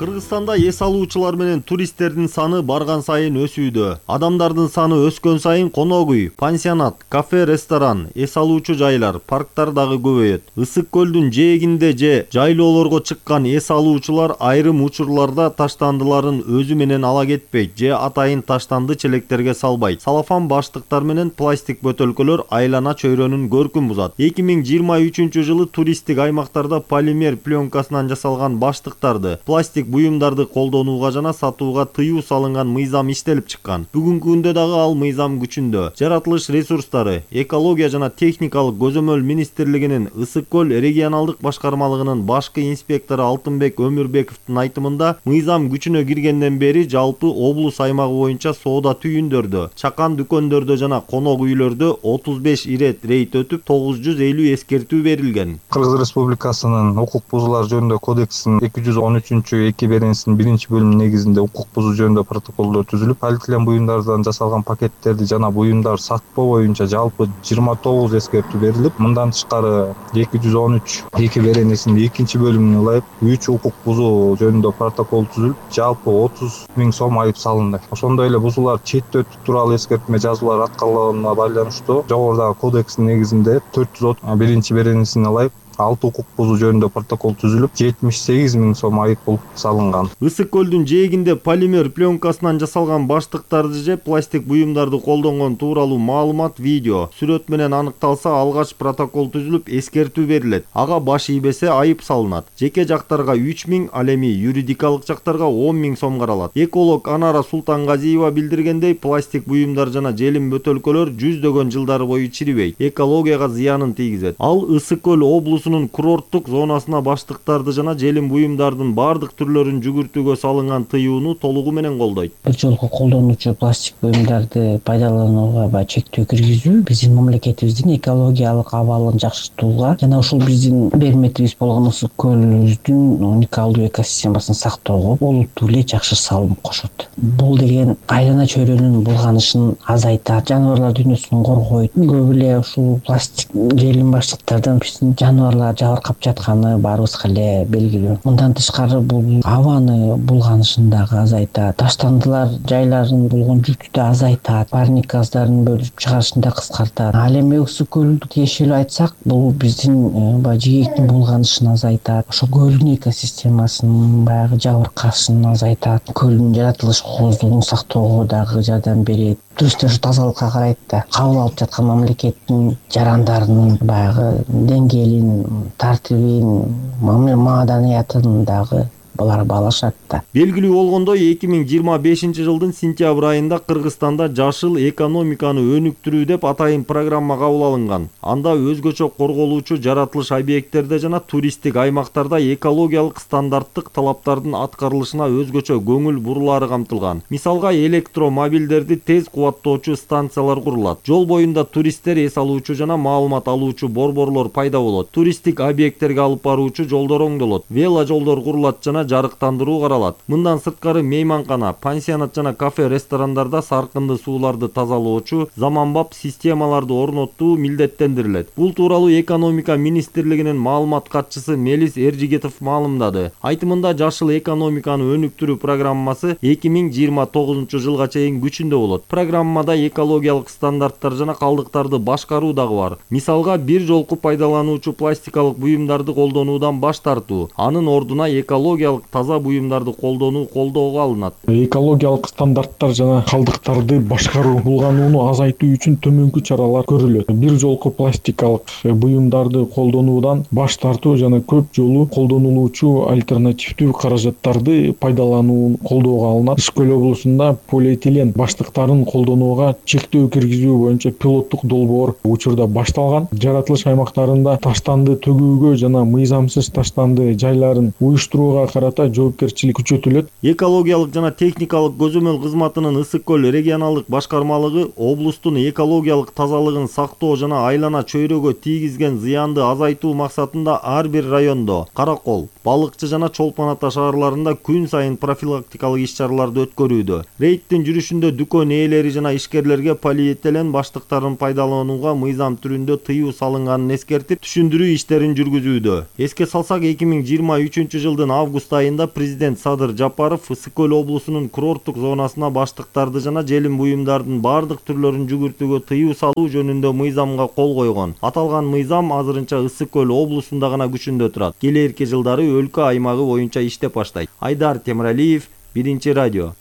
Кыргызстанда эс алуучулар менен туристтердин саны барган сайын өсүүдө. Адамдардын саны өскөн сайын конок үй, пансионат, кафе, ресторан, эс алуучу жайлар, парктар дагы көбөйөт. Ысык көлдүн жээгинде же жайлоолорго чыккан эс алуучулар айрым учурларда таштандыларын өзү менен ала кетпейт же атайын таштанды челектерге салбайт. Салафан баштыктар менен пластик бөтөлкөлөр айлана чөйрөнүн көркүн бузат. эки миң жыйырма үчүнчү жылы туристтик аймактарда полимер пленкасынан жасалган баштыктарды, пластик буюмдарды колдонууга жана сатууга тыюу салынган мыйзам иштелип чыккан. Бүгүнкү күндө дагы ал мыйзам күчүндө. Жаратылыш ресурстары, экология жана техникалык көзөмөл министрлигинин Ысык көл регионалдык башкармалыгынын башкы инспектору Алтынбек Өмүрбековдун айтымында, мыйзам күчүнө киргенден бери жалпы облус аймагы боюнча соода түйүндөрдө, чакан дүкөндөрдө жана конок үйлөрдө отуз беш ирет рейд өтүп, тогуз жүз элүү эскертүү берилген. Кыргыз Республикасынын укук бузуулар жөнүндө кодексинин эки жүз он үчүнчү эки беренесинин биринчи бөлүмү негизинде укук бузуу жөнүндө протоколдор түзүлүп, полиэтилен буюмдардан жасалган пакеттерди жана буюмдар сатпоо боюнча жалпы жыйырма тогуз эскертүү берилип, мындан тышкары эки жүз он үч эки беренесинин экинчи бөлүмүнө ылайык үч укук бузуу жөнүндө протокол түзүлүп, жалпы отуз миң сом айып салынды. Ошондой эле бузуулар четте өтүү тууралуу эскертме жазуулар аткарылганына байланыштуу жогорудагы кодекстин негизинде төрт жүз биринчи беренесине ылайык алты укук бузуу жөнүндө протокол түзүлүп, жетимиш сегиз миң сом айып пул салынган. Ысык көлдүн жээгинде полимер пленкасынан жасалган баштыктарды же пластик буюмдарды колдонгон тууралуу маалымат, видео, сүрөт менен аныкталса, алгач протокол түзүлүп, эскертүү берилет. Ага баш ийбесе айып салынат. Жеке жактарга үч миң, ал эми юридикалык жактарга он миң сом каралат. Эколог Анара Султангазиева билдиргендей, пластик буюмдар жана желим бөтөлкөлөр жүздөгөн жылдар бою чирибейт, экологияга зыянын тийгизет. Ал Ысык көл облусу курорттук зонасына баштыктарды жана желим буюмдардын бардык түрлөрүн жүгүртүүгө салынган тыюуну толугу менен колдойт. Бир жолку колдонуучу пластик буюмдарды пайдаланууга баягы чектөө киргизүү биздин мамлекетибиздин экологиялык абалын жакшыртууга жана ушул биздин берметибиз болгон Ысык көлүбүздүн уникалдуу экосистемасын сактоого олуттуу эле жакшы салым кошот. Бул деген айлана чөйрөнүн булганышын азайтат, жаныбарлар дүйнөсүн коргойт. Көп эле ушул пластик желим баштыктардан биздин жаныбарлар жабыркап жатканы баарыбызга эле белгилүү. Мындан тышкары бул абаны булганышын дагы азайтат, таштандылар жайларын болгон жүктү да азайтат, парник газдарын бөлүп чыгарышын да кыскартат. Ал эми Ысык көлдү тиешелүү айтсак, бул биздин баягы жээктин булганышын азайтат, ошо көлдүн экосистемасынын баягы жабыркашын азайтат, көлдүн жаратылыш кооздугун сактоого дагы жардам берет. Туристтер ушу тазалыкка карайт да, кабыл алып жаткан мамлекеттин жарандарынын баягы деңгээлин, тартибин, маданиятын дагы булар баалашат да. Белгилүү болгондой, эки миң жыйырма бешинчи жылдын сентябрь айында Кыргызстанда жашыл экономиканы өнүктүрүү деп атайын программа кабыл алынган. Анда өзгөчө корголуучу жаратылыш объекттерде жана туристтик аймактарда экологиялык стандарттык талаптардын аткарылышына өзгөчө көңүл бурулаары камтылган. Мисалга, электромобилдерди тез кубаттоочу станциялар курулат. Жол боюнда туристтер эс алуучу жана маалымат алуучу борборлор пайда болот. Туристтик объекттерге алып баруучу жолдор оңдолот. Вело жолдор курулат жана жарыктандыруу каралат. Мындан сырткары мейманкана, пансионат жана кафе, ресторандарда саркынды сууларды тазалоочу заманбап системаларды орнотуу милдеттендирилет. Бул тууралуу экономика министрлигинин маалымат катчысы Мелис Эржигетов маалымдады. Айтымында, жашыл экономиканы өнүктүрүү программасы эки миң жыйырма тогузунчу жылга чейин күчүндө болот. Программада экологиялык стандарттар жана калдыктарды башкаруу дагы бар. Мисалга, бир жолку пайдалануучу пластикалык буюмдарды колдонуудан баш тартуу, анын ордуна экологиялык экологиялык таза буюмдарды колдонуу колдоого алынат. Экологиялык стандарттар жана калдыктарды башкаруу булганууну азайтуу үчүн төмөнкү чаралар көрүлөт. Бир жолку пластикалык буюмдарды колдонуудан баш тартуу жана көп жолу колдонулуучу альтернативдүү каражаттарды пайдаланууну колдоого алынат. Иш көл облусунда полиэтилен баштыктарын колдонууга чектөө киргизүү боюнча пилоттук долбоор учурда башталган. Жаратылыш аймактарында таштанды төгүүгө жана мыйзамсыз таштанды жайларын уюштурууга карата жоопкерчилик күчөтүлөт. Экологиялык жана техникалык көзөмөл кызматынын Ысык көл регионалдык башкармалыгы облустун экологиялык тазалыгын сактоо жана айлана чөйрөгө тийгизген зыянды азайтуу максатында ар бир райондо Каракол, Балыкчы жана Чолпон Ата шаарларында күн сайын профилактикалык иш-чараларды өткөрүүдө. Рейдтин жүрүшүндө дүкөн ээлери жана ишкерлерге полиэтилен баштыктарын пайдаланууга мыйзам түрүндө тыюу салынганын эскертип, түшүндүрүү иштерин жүргүзүүдө. Эске салсак, эки миң жыйырма үчүнчү жылдын август айында президент Садыр Жапаров Ысык көл облусунун курорттук зонасына баштыктарды жана желим буюмдардын бардык түрлөрүн жүгүртүүгө тыюу салуу жөнүндө мыйзамга кол койгон. Аталган мыйзам азырынча Ысык көл облусунда гана күчүндө турат. Келээрки жылдары өлкө аймагы боюнча иштеп баштайт. Айдар Темиралиев, Биринчи радио.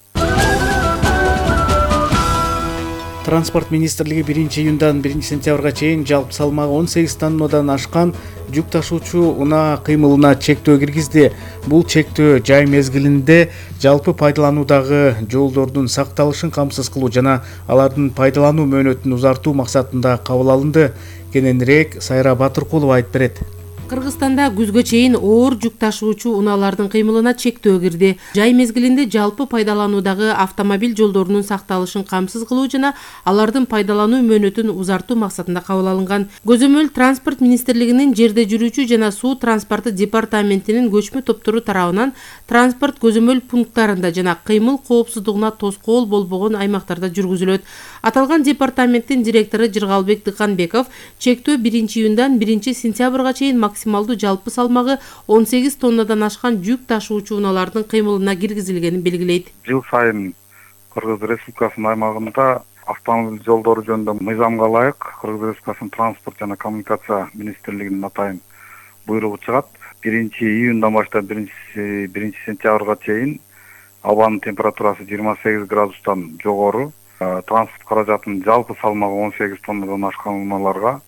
Транспорт министрлиги биринчи июндан биринчи сентябрга чейин жалпы салмагы он сегиз тоннадан ашкан жүк ташуучу унаа кыймылына чектөө киргизди. Бул чектөө жай мезгилинде жалпы пайдалануудагы жолдордун сакталышын камсыз кылуу жана алардын пайдалануу мөөнөтүн узартуу максатында кабыл алынды. Кененирээк Сайра Батыркулова айтып берет. Кыргызстанда күзгө чейин оор жүк ташуучу унаалардын кыймылына чектөө кирди. Жай мезгилинде жалпы пайдалануудагы автомобиль жолдорунун сакталышын камсыз кылуу жана алардын пайдалануу мөөнөтүн узартуу максатында кабыл алынган. Көзөмөл Транспорт министрлигинин жерде жүрүүчү жана суу транспорты департаментинин көчмө топтору тарабынан транспорт көзөмөл пункттарында жана кыймыл коопсуздугуна тоскоол болбогон аймактарда жүргүзүлөт. Аталган департаменттин директору Жыргалбек Дыканбеков чектөө биринчи июндан биринчи сентябрга чейин максималдуу жалпы салмагы он сегиз тоннадан ашкан жүк ташуучу унаалардын кыймылына киргизилгенин белгилейт. Жыл сайын Кыргыз Республикасынын аймагында автомобиль жолдору жөнүндө мыйзамга ылайык Кыргыз Республикасынын транспорт жана коммуникация министрлигинин атайын буйругу чыгат. биринчи июндан баштап биринчи сентябрга чейин абанын температурасы жыйырма сегиз градустан жогору, транспорт каражатынын жалпы салмагы он сегиз тоннадан ашкан унааларга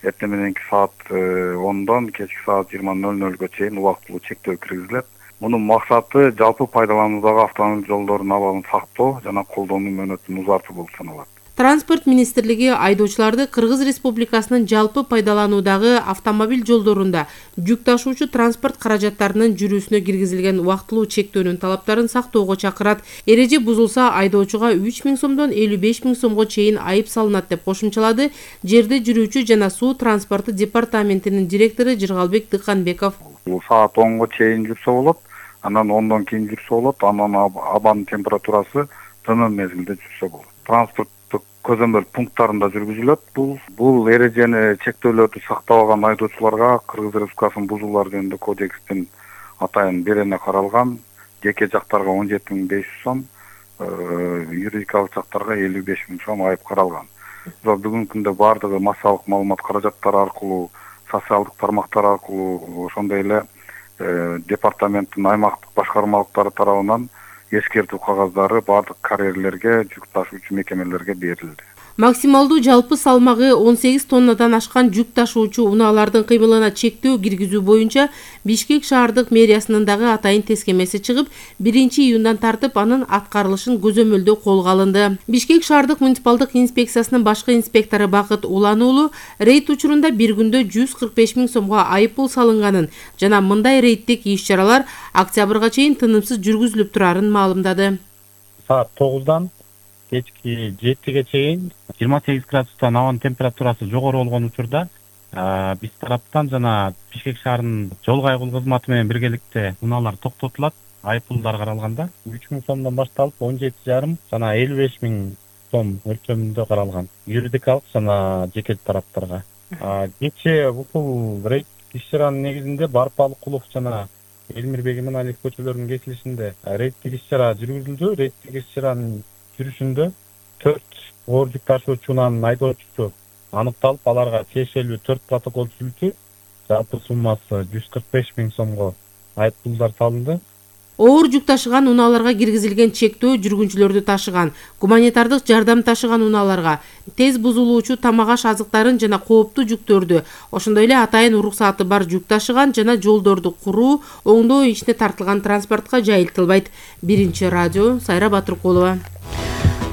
эртең мененки саат ондон кечки саат жыйырма ноль нольго чейин убактылуу чектөө киргизилет. Мунун максаты жалпы пайдалануудагы автомобиль жолдорунун абалын сактоо жана колдонуу мөөнөтүн узартуу болуп саналат. Транспорт министрлиги айдоочуларды Кыргыз Республикасынын жалпы пайдалануудагы автомобиль жолдорунда жүк ташуучу транспорт каражаттарынын жүрүүсүнө киргизилген убактылуу чектөөнүн талаптарын сактоого чакырат. Эреже бузулса айдоочуга үч миң сомдон элүү беш миң сомго чейин айып салынат деп кошумчалады жерде жүрүүчү жана суу транспорты департаментинин директору Жыргалбек Дыканбеков. Саат онго чейин жүрсө болот, анан ондон кийин жүрсө болот, анан абанын температурасы тынын мезгилде жүрсө болот. Транспорт көзөмөл пункттарында жүргүзүлөт. Бул бул эрежени чектөөлөрдү сактабаган айдоочуларга Кыргыз Республикасынын бузуулар жөнүндө кодекстин атайын берене каралган жеке жактарга он жети миң беш жүз сом, юридикалык жактарга элүү беш миң сом айып каралган. Бүгүнкү күндө бардыгы массалык маалымат каражаттары аркылуу, социалдык тармактар аркылуу, ошондой эле департаменттин аймактык башкармалыктары тарабынан эскертүү кагаздары бардык карьерлерге, жүк ташуучу мекемелерге берилди. Максималдуу жалпы салмагы он сегиз тоннадан ашкан жүк ташуучу унаалардын кыймылына чектөө киргизүү боюнча Бишкек шаардык мэриясынын дагы атайын тескемеси чыгып, биринчи июндан тартып анын аткарылышын көзөмөлдөө колго алынды. Бишкек шаардык муниципалдык инспекциясынын башкы инспектору Бакыт Улан уулу рейд учурунда бир күндө жүз кырк беш миң сомго айып пул салынганын жана мындай рейдтик иш-чаралар октябрга чейин тынымсыз жүргүзүлүп турарын маалымдады. Саат тогуздан кечки жетиге чейин жыйырма сегиз градустан абанын температурасы жогору болгон учурда биз тараптан жана Бишкек шаарынын жол кайгылуу кызматы менен биргеликте унаалар токтотулат. Айыппулдар каралганда үч миң сомдон башталып он жети жарым жана элүү беш миң сом өлчөмүндө каралган юридикалык жана жеке тараптарга. Кечээ бул рейд иш-чаранын негизинде Барпалыкулов жана Элмирбек Иманалиев көчөлөрүнүн кесилишинде рейдтик иш-чара жүргүзүлдү. Рейдтик иш-чаранын жүрүшүндө төрт оор жүк ташуучу унаанын айдоочусу аныкталып, аларга тиешелүү төрт протокол түзүлдү. Жалпы суммасы жүз кырк беш миң сомго айып пулдар салынды. оор жүк ташыган унааларга киргизилген чектөө жүргүнчүлөрдү ташыган, гуманитардык жардам ташыган унааларга, тез бузулуучу тамак аш азыктарын жана кооптуу жүктөрдү, ошондой эле атайын уруксааты бар жүк ташыган жана жолдорду куруу, оңдоо ишине тартылган транспортко жайылтылбайт. Биринчи радио, Сайра Батыркулова.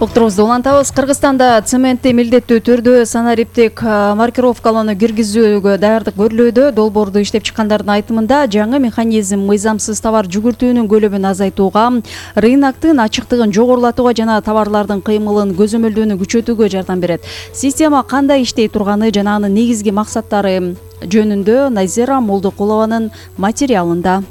Уктурубузду улантабыз. Кыргызстанда цементти милдеттүү түрдө санариптик маркировкалоону киргизүүгө даярдык көрүлүүдө. Долбоорду иштеп чыккандардын айтымында жаңы механизм мыйзамсыз товар жүгүртүүнүн көлөмүн азайтууга, рыноктун ачыктыгын жогорулатууга жана товарлардын кыймылын көзөмөлдөөнү күчөтүүгө жардам берет. Система кандай иштей турганы жана анын негизги максаттары жөнүндө Назира Молдокулованын материалында.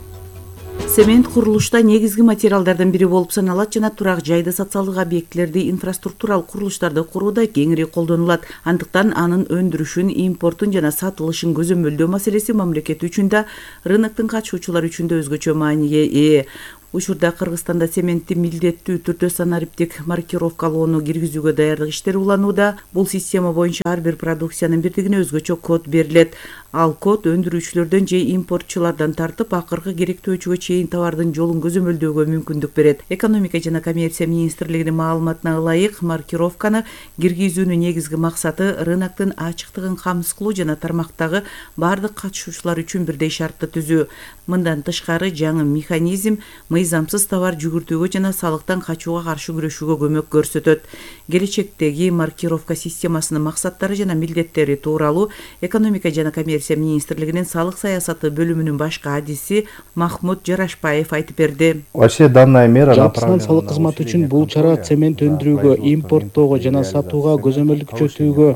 Цемент курулушта негизги материалдардын бири болуп саналат жана турак жайды, социалдык объектилерди, инфраструктуралык курулуштарды курууда кеңири колдонулат. Андыктан анын өндүрүшүн, импортун жана сатылышын көзөмөлдөө маселеси мамлекет үчүн да, рыноктун катышуучулары үчүн да өзгөчө мааниге ээ. Учурда Кыргызстанда цементти милдеттүү түрдө санариптик маркировкалоону киргизүүгө даярдык иштери уланууда. Бул система боюнча ар бир продукциянын бирдигине өзгөчө код берилет. Ал код өндүрүүчүлөрдөн же импортчулардан тартып, акыркы керектөөчүгө чейин товардын жолун көзөмөлдөөгө мүмкүндүк берет. Экономика жана коммерция министрлигинин маалыматына ылайык, маркировканы киргизүүнүн негизги максаты рыноктун ачыктыгын камсыз кылуу жана тармактагы бардык катышуучулар үчүн бирдей шартты түзүү. Мындан тышкары жаңы механизм мыйзамсыз товар жүгүртүүгө жана салыктан качууга каршы күрөшүүгө көмөк көрсөтөт. Келечектеги маркировка системасынын максаттары жана милдеттери тууралуу Экономика жана коммерция министрлигинин салык саясаты бөлүмүнүн башкы адиси Махмуд Жарашбаев айтып берди. Вообще данная мера Жалпысынан салык кызматы үчүн бул чара цемент өндүрүүгө, импорттоого жана сатууга көзөмөлдү күчөтүүгө,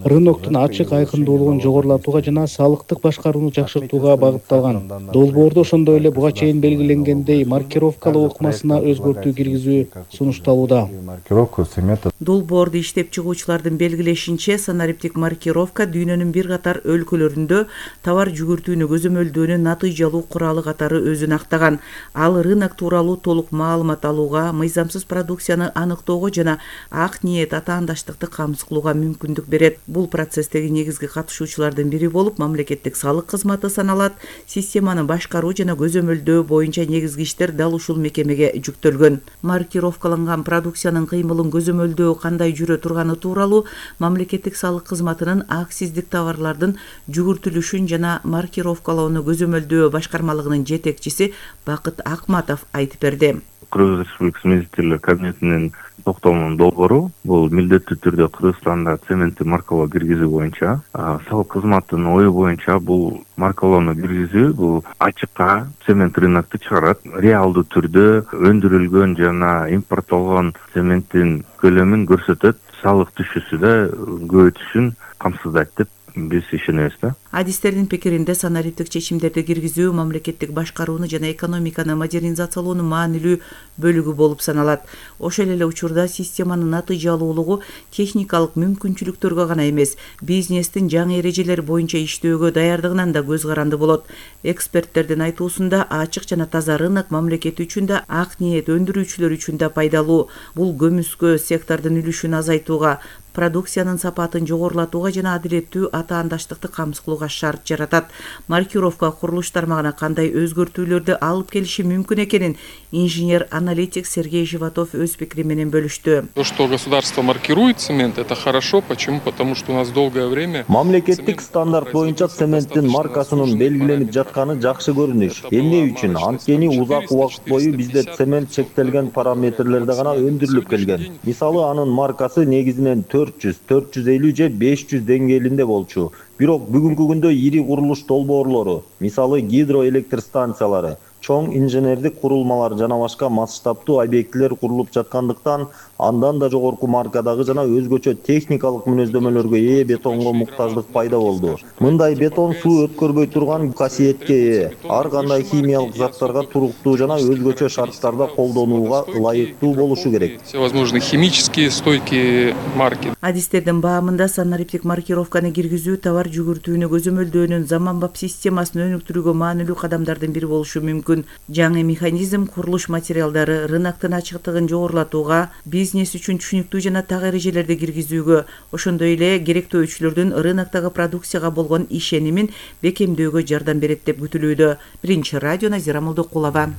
рыноктун ачык айкындуулугун жогорулатууга жана салыктык башкарууну жакшыртууга багытталган. Долбоордо ошондой эле буга чейин белгиленгендей маркировкалоо ыкмасына өзгөртүү киргизүү сунушталууда. Долбоорду иштеп чыгуучулардын белгилешинче, санариптик маркировка дүйнөнүн бир катар өлкөлөрүндө товар жүгүртүүнү көзөмөлдөөнүн натыйжалуу куралы катары өзүн актаган. Ал рынок тууралуу толук маалымат алууга, мыйзамсыз продукцияны аныктоого жана ак ниет атаандаштыкты камсыз кылууга мүмкүндүк берет. Бул процесстеги негизги катышуучулардын бири болуп мамлекеттик салык кызматы саналат. Системаны башкаруу жана көзөмөлдөө боюнча негизги иштер дал ушул мекемеге жүктөлгөн. Маркировкаланган продукциянын кыймылын көзөмөлдөө кандай жүрө турганы тууралуу мамлекеттик салык кызматынын акциздик товарлардын жүгүртүлүшүн жана маркировкалоону көзөмөлдөө башкармалыгынын жетекчиси Бакыт Акматов айтып берди. Кыргыз Республикасы Министрлер Кабинетинин токтомунун долбоору бул милдеттүү түрдө Кыргызстанда цементти маркалоо киргизүү боюнча, салык кызматынын ою боюнча бул маркалоону киргизүү бул ачыкка цемент рынокту чыгарат. Реалдуу түрдө өндүрүлгөн жана импорттолгон цементтин көлөмүн көрсөтөт, салык түшүүсү да көбөйтүшүн камсыздайт деп биз ишенебиз да. Адистердин пикиринде санариптик чечимдерди киргизүү мамлекеттик башкарууну жана экономиканы модернизациялоонун маанилүү бөлүгү болуп саналат. Ошол эле учурда системанын натыйжалуулугу техникалык мүмкүнчүлүктөргө гана эмес, бизнестин жаңы эрежелери боюнча иштөөгө даярдыгынан да көз каранды болот. Эксперттердин айтуусунда ачык жана таза рынок мамлекет үчүн да, ак ниет өндүрүүчүлөр үчүн да пайдалуу. Бул көмүскө сектордун үлүшүн азайтууга, продукциянын сапатын жогорулатууга жана адилеттүү атаандаштыкты камсыз кылууга шарт жаратат. Маркировка курулуш тармагына кандай өзгөртүүлөрдү алып келиши мүмкүн экенин инженер-аналитик Сергей Животов өз пикири менен бөлүштү. То, что государство маркирует цемент, это хорошо. Почему? Потому что у нас долгое время мамлекеттик стандарт боюнча цементтин маркасынын белгиленип жатканы жакшы көрүнүш. Эмне үчүн? Анткени узак убакыт бою бизде цемент чектелген параметрлерде гана өндүрүлүп келген. Мисалы, анын маркасы негизинен төрт жүз, төрт жүз элүү же беш жүз деңгээлинде болчу. Бирок бүгүнкү күндө ири курулуш долбоорлору, мисалы гидроэлектр станциялары, чоң инженердик курулмалар жана башка масштабтуу объектилер курулуп жаткандыктан андан да жогорку маркадагы жана өзгөчө техникалык мүнөздөмөлөргө ээ бетонго муктаждык пайда болду. Мындай бетон суу өткөрбөй турган касиетке ээ, ар кандай химиялык заттарга туруктуу жана өзгөчө шарттарда колдонууга ылайыктуу болушу керек. Все возможные химические стойкие марки. Адистердин баамында санариптик маркировканы киргизүү товар жүгүртүүнү көзөмөлдөөнүн заманбап системасын өнүктүрүүгө маанилүү кадамдардын бири болушу мүмкүн. Жаңы механизм курулуш материалдары, рыноктун ачыктыгын жогорулатууга, бизнес үчүн түшүнүктүү жана так эрежелерди киргизүүгө, ошондой эле керектөөчүлөрдүн рыноктогу продукцияга болгон ишенимин бекемдөөгө жардам берет деп күтүлүүдө. Биринчи радио, Назира Молдокулова.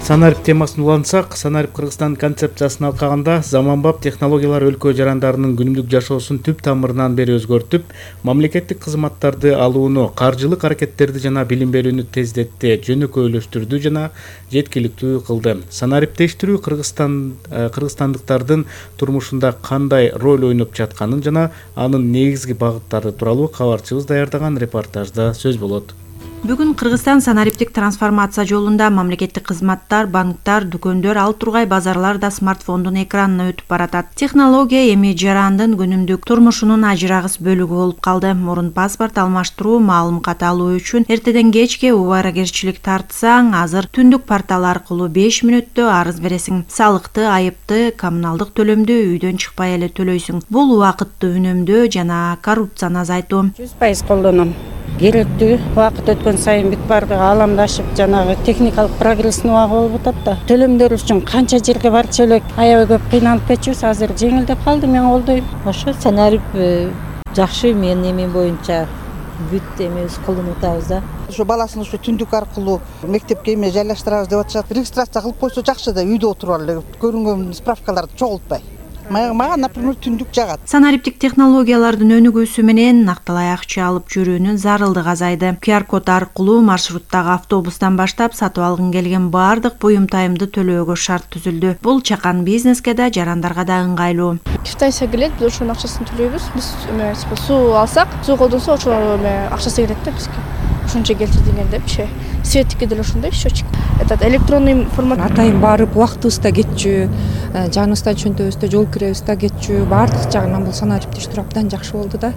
Санарип темасын улантсак, Санарип Кыргызстан концепциясын алкаганда заманбап технологиялар өлкө жарандарынын күнүмдүк жашоосун түп тамырынан бери өзгөртүп, мамлекеттик кызматтарды алууну, каржылык аракеттерди жана билим берүүнү тездетти, жөнөкөйлөштүрдү жана жеткиликтүү кылды. Санариптештирүү Кыргызстан кыргызстандыктардын турмушунда кандай роль ойноп жатканын жана анын негизги багыттары тууралуу кабарчыбыз даярдаган репортажда сөз болот. Бүгүн Кыргызстан санариптик трансформация жолунда мамлекеттик кызматтар, банктар, дүкөндөр, ал тургай базарлар да смартфондун экранына өтүп баратат. Технология эми жарандын күнүмдүк турмушунун ажырагыс бөлүгү болуп калды. Мурун паспорт алмаштыруу, маалым кат алуу үчүн эртеден кечке убарагерчилик тартсаң, азыр түндүк портал аркылуу беш мүнөттө арыз бересиң. Салыкты, айыпты, коммуналдык төлөмдү үйдөн чыкпай эле төлөйсүң. Бул убакытты үнөмдөө жана коррупцияны азайтуу. жүз пайыз колдоном. Керектүү убакыт өткөн сайын бүт баары ааламдашып, жанагы техникалык прогресстин убагы болуп атат да. Төлөмдөр үчүн канча жерге барчу элек, аябай көп кыйналып кетчүбүз, азыр жеңилдеп калды, мен колдойм. Ошо санарип жакшы, менин эмем боюнча бүт эмебиз колдонуп атабыз да. Ошо баласын ушу түндүк аркылуу мектепке эме жайлаштырабыз деп атышат. Регистрация кылып койсо жакшы да, үйдө отуруп эле көрүнгөн справкаларды чогултпай. Мага, например, түндүк жагат. Санариптик технологиялардын өнүгүүсү менен накталай акча алып жүрүүнүн зарылдыгы азайды. ку ар код аркылуу маршруттагы автобустан баштап сатып алгың келген баардык буюм тайымды төлөөгө шарт түзүлдү. Бул чакан бизнеске да, жарандарга да ыңгайлуу. Китайса келет, биз ошонун акчасын төлөйбүз. Биз эме суу алсак, суу колдонсо ошо эме акчасы келет да бизге. Ошончо келтир дегенде биши. Светтикке деле ошондой счетчик. Этот электронный формат. Атайын барып убактыбызда кетчү, жаныбыздан чөнтөбүздө жол киребизде кетчү, баардык жагынан бул санариптештирүү абдан жакшы болду да.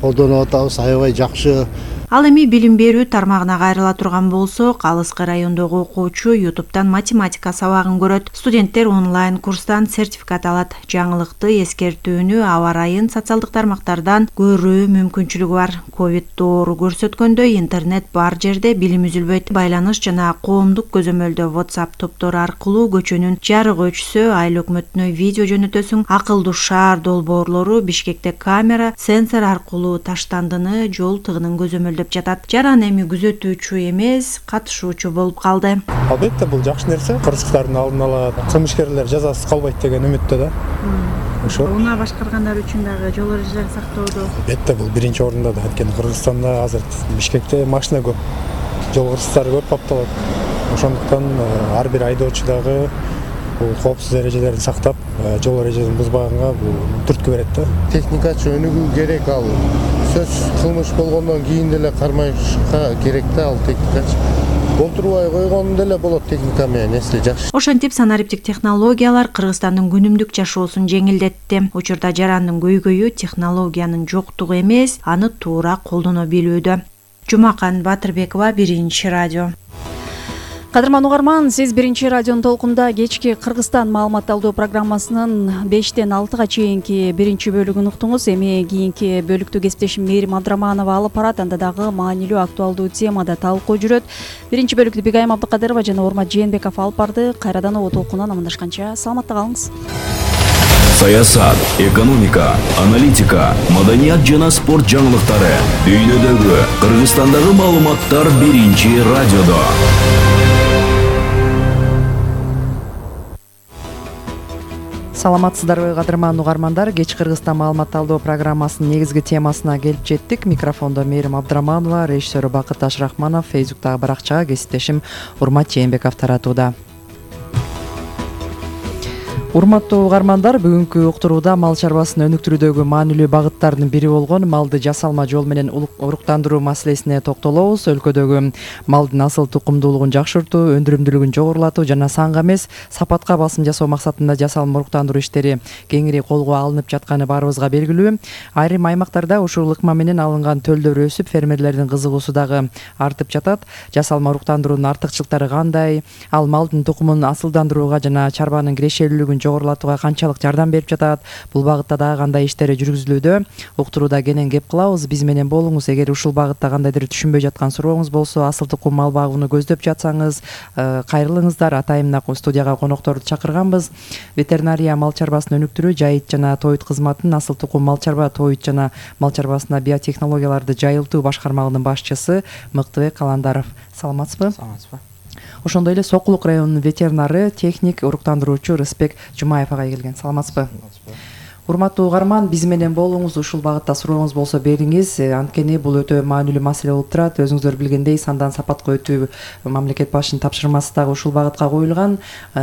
Колдонуп атабыз, аябай жакшы. Ал эми билим берүү тармагына кайрыла турган болсок, Алыскы райондогу окуучу ютубтан математика сабагын көрөт. Студенттер онлайн курстан сертификат алат. Жаңылыкты эскертүүнү аба ырайын социалдык тармактардан көрүү мүмкүнчүлүгү бар. Ковид доору көрсөткөндөй интернет бар жерде билим үзүлбөйт. Байланыш жана коомдук көзөмөлдө WhatsApp топтору аркылуу көчөнүн жарыгы өчсө, айыл өкмөтүнө видео жөнөтөсүң. Акылдуу шаар долбоорлору Бишкекте камера, сенсор аркылуу таштандыны, жол тыгынын көзөмөлдөп жатат. Жаран эми күзөтүүчү эмес, катышуучу болуп калды. Албетте бул жакшы нерсе. Кырсыктардын алдын ала кылмышкерлер жазасыз калбайт деген үмүттө да. Ошо. Уна башкаргандар үчүн дагы жол эрежелерин сактоодо. Албетте бул биринчи орунда да. Анткени Кыргызстанда азыр Бишкекте машина көп. Жол кырсыктары көп капталат. Ошондуктан ар бир айдоочу дагы бул коопсуз эрежелерин сактап, жол эрежелерин бузбаганга бул түрткү берет да. Техникачы өнүгүү керек, ал сөз кылмыш болгондон кийин деле кармашка керек да, ал техникачы. Болтурбай койгон деле болот техника менен, эсли жакшы. Ошентип санариптик технологиялар Кыргызстандын күнүмдүк жашоосун жеңилдетти. Учурда жарандын көйгөйү технологиянын жоктугу эмес, аны туура колдоно билүүдө. Жумакан Батырбекова, Биринчи радио. Кадырман угарман, сиз Биринчи радионун толкунда кечки Кыргызстан маалымат алуу программасынын бештен алтыга чейинки биринчи бөлүгүн уктуңуз. Эми кийинки бөлүктү кесиптешим Мээрим Абдраманова алып барат. Анда дагы маанилүү актуалдуу темада талкуу жүрөт. Биринчи бөлүктү Бигайым Абдыкадырова жана Урмат Жээнбеков алып барды. Кайрадан о толкундан амандашканча саламатта калыңыз. Саясат, экономика, аналитика, маданият жана спорт жаңылыктары дүйнөдөгү, Кыргызстандагы маалыматтар Биринчи радиодо. Саламатсыздарбы кадырман угармандар, кеч Кыргызстан маалымат алуу программасынын негизги темасына келип жеттик. Микрофондо Мээрим Абдраманова, режиссеру Бакыт Ашрахманов, Фейсбуктагы баракчага кесиптешим Урмат Жээнбеков таратууда. Урматтуу угармандар, бүгүнкү уктурууда мал чарбасын өнүктүрүүдөгү маанилүү багыттардын бири болгон малды жасалма жол менен уруктандыруу маселесине токтолобуз. Өлкөдөгү малдын асыл тукумдуулугун жакшыртуу, өндүрүмдүүлүгүн жогорулатуу жана санга эмес, сапатка басым жасоо максатында жасалма уруктандыруу иштери кеңири колго алынып жатканы баарыбызга белгилүү. Айрым аймактарда ушул ыкма менен алынган төлдөр өсүп, фермерлердин кызыгуусу дагы артып жатат. Жасалма уруктандыруунун артыкчылыктары кандай? Ал малдын тукумун асылдандырууга жана чарбанын кирешелүүлүгүн жогорулатууга канчалык жардам берип жатат? Бул багытта дагы кандай иштер жүргүзүлүүдө? Уктурууда кенен кеп кылабыз. Биз менен болуңуз. Эгер ушул багытта кандайдыр түшүнбөй жаткан сурооңуз болсо, асыл тукум мал багууну көздөп жатсаңыз, кайрылыңыздар. Атайын студияга конокторду чакырганбыз. Ветеринария мал чарбасын өнүктүрүү, жайыт жана тоют кызматын асыл тукум мал чарба, тоют жана мал чарбасына биотехнологияларды жайылтуу башкармалыгынын башчысы Мыктыбек Каландаров. Саламатсызбы? Саламатсызбы. Ошондой эле Сокулук районунун ветеринары, техник уруктандыруучу Рыспек Жумаев агай келген. Саламатсызбы? Урматтуу угарман, биз менен болуңуз, ушул багытта сурооңуз болсо бериңиз. Анткени бул өтө маанилүү маселе болуп турат. Өзүңүздөр билгендей, сандан сапатка өтүү мамлекет башчынын тапшырмасы дагы ушул багытка коюлган.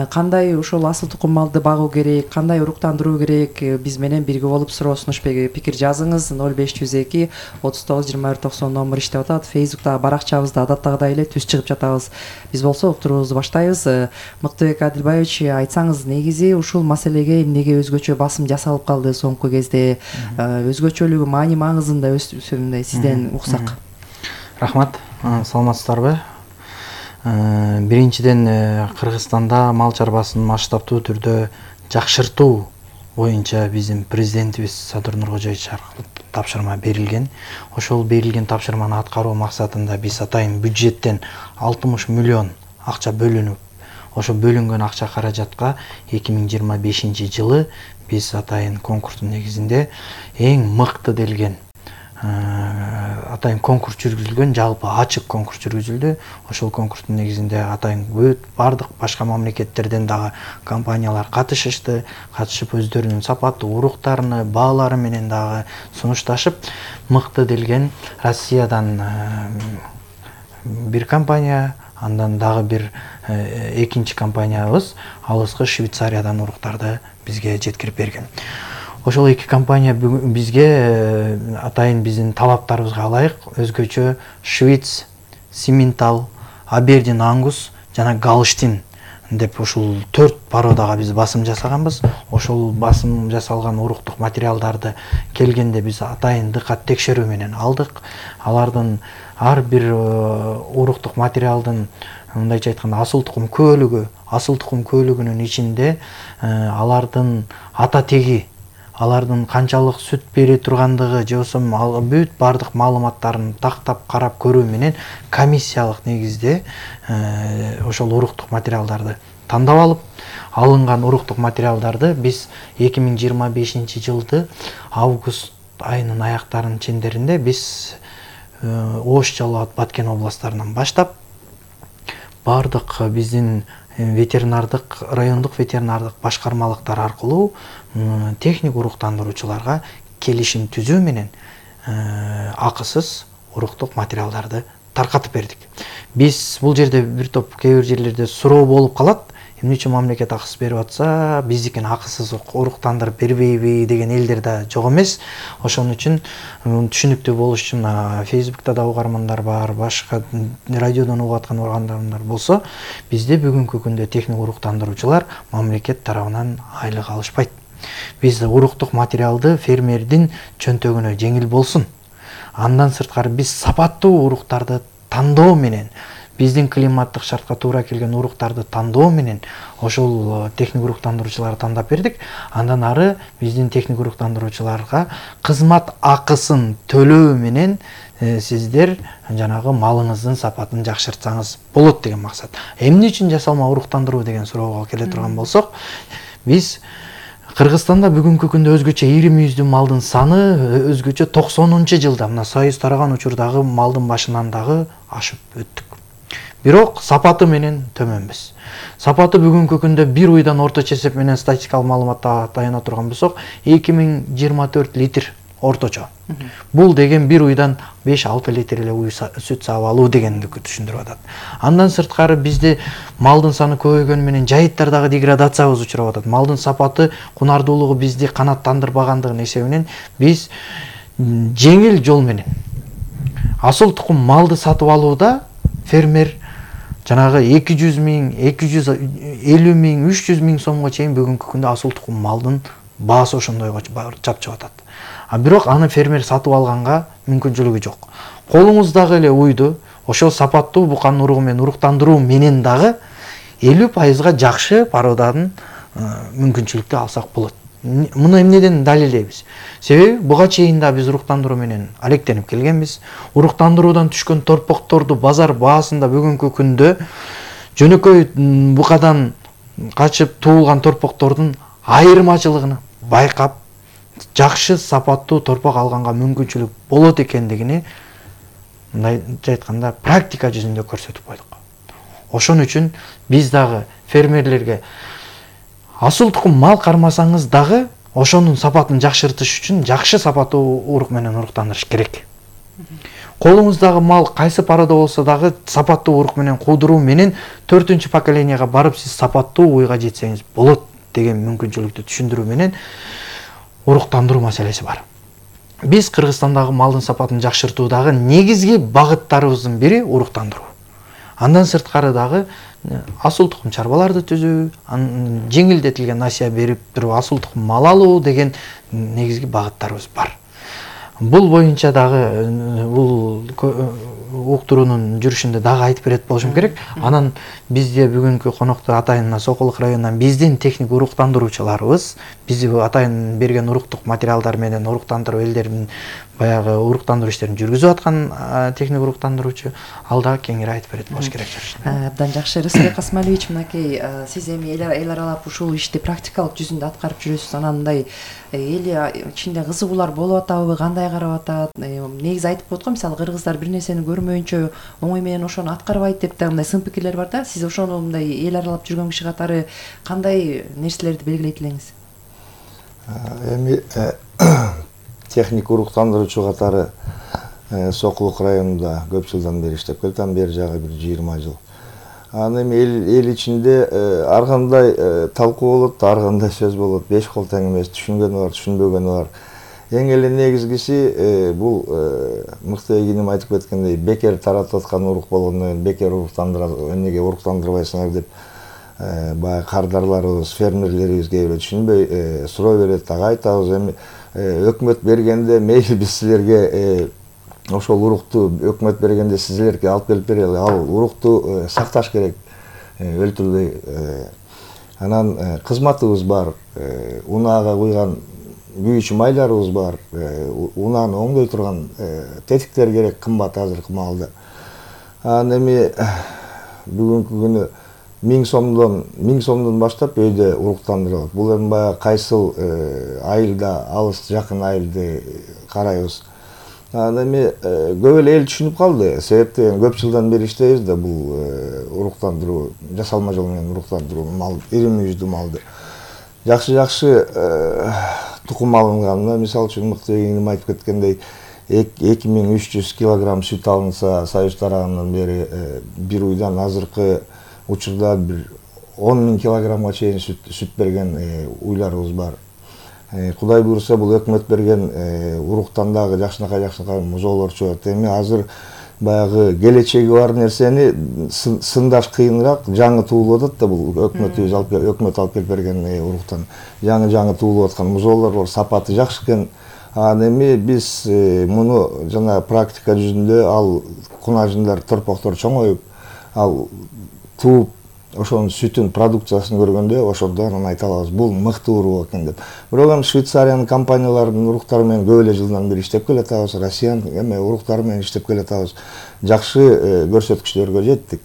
Кандай ошол асыл тукум малды багуу керек, кандай уруктандыруу керек, биз менен бирге болуп суроо сунуш пикир жазыңыз. ноль беш жүз эки отуз тогуз жыйырма бир токсон номер иштеп атат. Фейсбукта баракчабызда адаттагыдай эле түз чыгып жатабыз. Биз болсо уктуруубузду баштайбыз. Мыктыбек Адилбаевич, айтсаңыз, негизи ушул маселеге эмнеге өзгөчө басым жасалып калды соңку кезде, өзгөчөлүгү, маани маңызында өсүмдө сизден уксак. Рахмат, саламатсыздарбы? Биринчиден, Кыргызстанда мал чарбасын масштабтуу түрдө жакшыртуу боюнча биздин президентибиз Садыр Нуркожоевич аркылуу тапшырма берилген. Ошол берилген тапшырманы аткаруу максатында биз атайын бюджеттен алтымыш миллион акча бөлүнүп, ошо бөлүнгөн акча каражатка эки миң жыйырма бешинчи жылы биз атайын конкурстун негизинде эң мыкты делген атайын конкурс жүргүзүлгөн, жалпы ачык конкурс жүргүзүлдү. Ошол конкурстун негизинде атайын бүт бардык башка мамлекеттерден дагы компаниялар катышышты, катышып өздөрүнүн сапаттуу уруктарын, баалары менен дагы сунушташып, мыкты делген Россиядан бир компания, андан дагы бир экинчи компаниябыз алыскы Швейцариядан уруктарды бизге жеткирип берген. Ошол эки компания бизге атайын биздин талаптарыбызга ылайык өзгөчө Швиц, Симментал, Абердин Ангус жана Галштин деп ушул төрт породага биз басым жасаганбыз. Ошол басым жасалган уруктук материалдарды келгенде биз атайын дыккат текшерүү менен алдык. Алардын ар бир уруктук материалдын, мындайча айтканда, асыл тукум көөлүгү, асыл тукум көөлүгүнүн ичинде алардын ата теги, алардын канчалык сүт бере тургандыгы, же болбосо бүт бардык маалыматтарын тактап карап көрүү менен комиссиялык негизде ошол уруктук материалдарды тандап алып, алынган уруктук материалдарды биз эки миң жыйырма бешинчи жылды август айынын аяктарынын чендеринде биз Ош, Жалал абад, Баткен областтарынан баштап бардык биздин ветеринардык, райондук ветеринардык башкармалыктар аркылуу техник уруктандыруучуларга келишим түзүү менен акысыз уруктук материалдарды таркатып бердик. Биз бул жерде бир топ кээ бир жерлерде суроо болуп калат. Эмне үчүн мамлекет акысыз берип атса, биздикин акысыз уруктандырып бербейби деген элдер да жок эмес. Ошон үчүн түшүнүктүү болуш үчүн Фейсбукта да угармандар бар, башка радиодон угуп аткан угармандар болсо, бизде бүгүнкү күндө техник уруктандыруучулар мамлекет тарабынан айлык алышпайт. Биз уруктук материалды фермердин чөнтөгүнө жеңил болсун. Андан сырткары биз сапаттуу уруктарды тандоо менен, биздин климаттык шартка туура келген уруктарды тандоо менен ошол техник уруктандыруучуларды тандап бердик. Андан ары биздин техник уруктандыруучуларга кызмат акысын төлөө менен сиздер жанагы малыңыздын сапатын жакшыртсаңыз болот деген максат. Эмне үчүн жасалма уруктандыруу деген суроого келе турган болсок, биз Кыргызстанда бүгүнкү күндө өзгөчө ири мүйүздүү малдын саны өзгөчө токсонунчу жылда, мына союз тараган учурдагы малдын башынан дагы ашып өттүк. Бирок сапаты менен төмөнбүз. Сапаты бүгүнкү күндө бир уйдан орточо эсеп менен статистикалык маалыматта таяна турган болсок, эки миң жыйырма төрт литр орточо. Бул деген бир уйдан беш алты литр эле уй сүт саап алуу дегенди түшүндүрүп атат. Андан сырткары бизде малдын саны көбөйгөнү менен жайыттардагы деградацияга учурап атат. Малдын сапаты, кунардуулугу бизди канааттандырбагандыгынын эсебинен биз жеңил жол менен асыл тукум малды сатып алууда фермер жанагы эки жүз миң, эки жүз элүү миң, үч жүз миң сомго чейин бүгүнкү күндө асыл тукум малдын баасы ошондойго чапчып атат. А бирок аны фермер сатып алганга мүмкүнчүлүгү жок. Колуңуздагы эле уйду ошол сапаттуу буканын уругу менен уруктандыруу менен дагы элүү пайызга жакшы породанын мүмкүнчүлүктү алсак болот. Муну эмнеден далилдейбиз? Себеби буга чейин да биз уруктандыруу менен алектенип келгенбиз. Уруктандыруудан түшкөн торпокторду базар баасында бүгүнкү күндө жөнөкөй букадан качып туулган торпоктордун айырмачылыгын байкап, жакшы сапаттуу торпок алганга мүмкүнчүлүк болот экендигини мындайча айтканда практика жүзүндө көрсөтүп койдук. Ошон үчүн биз дагы фермерлерге асыл тукум мал кармасаңыз дагы ошонун сапатын жакшыртыш үчүн жакшы сапаттуу урук менен уруктандырыш керек. Колуңуздагы мал кайсы парада болсо дагы сапаттуу урук менен куудуруу менен төртүнчү поколенияга барып сиз сапаттуу уйга жетсеңиз болот деген мүмкүнчүлүктү түшүндүрүү менен уруктандыруу маселеси бар. Биз Кыргызстандагы малдын сапатын жакшыртуудагы негизги багыттарыбыздын бири уруктандыруу. Андан сырткары дагы асыл тукум чарбаларды түзүү, жеңилдетилген насыя берип туруп асыл тукум мал алуу деген негизги багыттарыбыз бар. Бул боюнча дагы бул уктуруунун жүрүшүндө дагы айтып берет болушум керек. Анан бизде бүгүнкү конокто атайын Сокулук районунан биздин техник уруктандыруучуларыбыз, биз атайын берген уруктук материалдар менен уруктандыруу элдердин баягы уруктандыруу иштерин жүргүзүп аткан техник уруктандыруучу, ал дагы кеңири айтып берет болуш керек. Абдан жакшы. Рысбек Касмалевич, мынакей сиз эми эл аралап ушул ишти практикалык жүзүндө аткарып жүрөсүз. Анан мындай эл ичинде кызыгуулар болуп атабы, кандай карап атат? Негизи айтып коет го, мисалы кыргыздар бир нерсени көрмөйүнчө оңой менен ошону аткарбайт деп да мындай сын пикирлер бар да. Сиз ошону мындай эл аралап жүргөн киши катары кандай нерселерди белгилейт элеңиз? Эми техник уруктандыруучу катары Сокулук районунда көп жылдан бери иштеп келатам, бери жагы бир жыйырма жыл. Анан эми эл ичинде ар кандай талкуу болот, ар кандай сөз болот, беш кол тең эмес, түшүнгөнү бар, түшүнбөгөнү бар. Эң эле негизгиси бул мыкты эгиним айтып кеткендей, бекер таратып аткан урук болгондон кийин бекер уруктандыра, эмнеге уруктандырбайсыңар деп баягы кардарларыбыз, фермерлерибиз кээ бирөө түшүнбөй суроо берет, ага айтабыз. Эми өкмөт бергенде мейли биз силерге ошол урукту өкмөт бергенде силерге алып келип берели, ал урукту сакташ керек өлтүрбөй. Анан кызматыбыз бар, унаага куйган күйүүчү майларыбыз бар, унааны оңдой турган тетиктер керек, кымбат азыркы маалда. Анан эми бүгүнкү күнү миң сомдон миң сомдон баштап өйдө уруктандырылат. Бул эми баягы кайсыл айылда, алыс жакын айылды карайбыз. Анан эми көп эле эл түшүнүп калды. Себепти көп жылдан бери иштейбиз да бул уруктандыруу, жасалма жол менен уруктандыруу мал, ири мүйүздүү малды. Жакшы-жакшы тукум алынганына, мисалы үчүн мыкты эгиним айтып кеткендей, эки миң үч жүз килограмм сүт алынса, Союз тарабынан бери бир уйдан азыркы учурда бир он миң килограммга чейин сүт берген уйларыбыз бар. Кудай буйруса бул өкмөт берген уруктан дагы жакшынакай жакшынакай музоолор чыгат. Эми азыр баягы келечеги бар нерсени сындаш кыйыныраак, жаңы туулуп атат да бул өкмөтүбүз алып өкмөт алып келип берген уруктан. Жаңы-жаңы туулуп аткан музоолор бар, сапаты жакшы экен. Анан эми биз муну жана практика жүзүндө ал кунажындар, торпоктор чоңоюп, ал тууп ошонун сүтүн продукциясын көргөндө ошондо анан айта алабыз, бул мыкты урук экен деп. Бирок эми Швейцариянын компанияларынын уруктары менен көп эле жылдан бери иштеп келатабыз, Россиянын эме уруктары менен иштеп келатабыз. Жакшы көрсөткүчтөргө жеттик.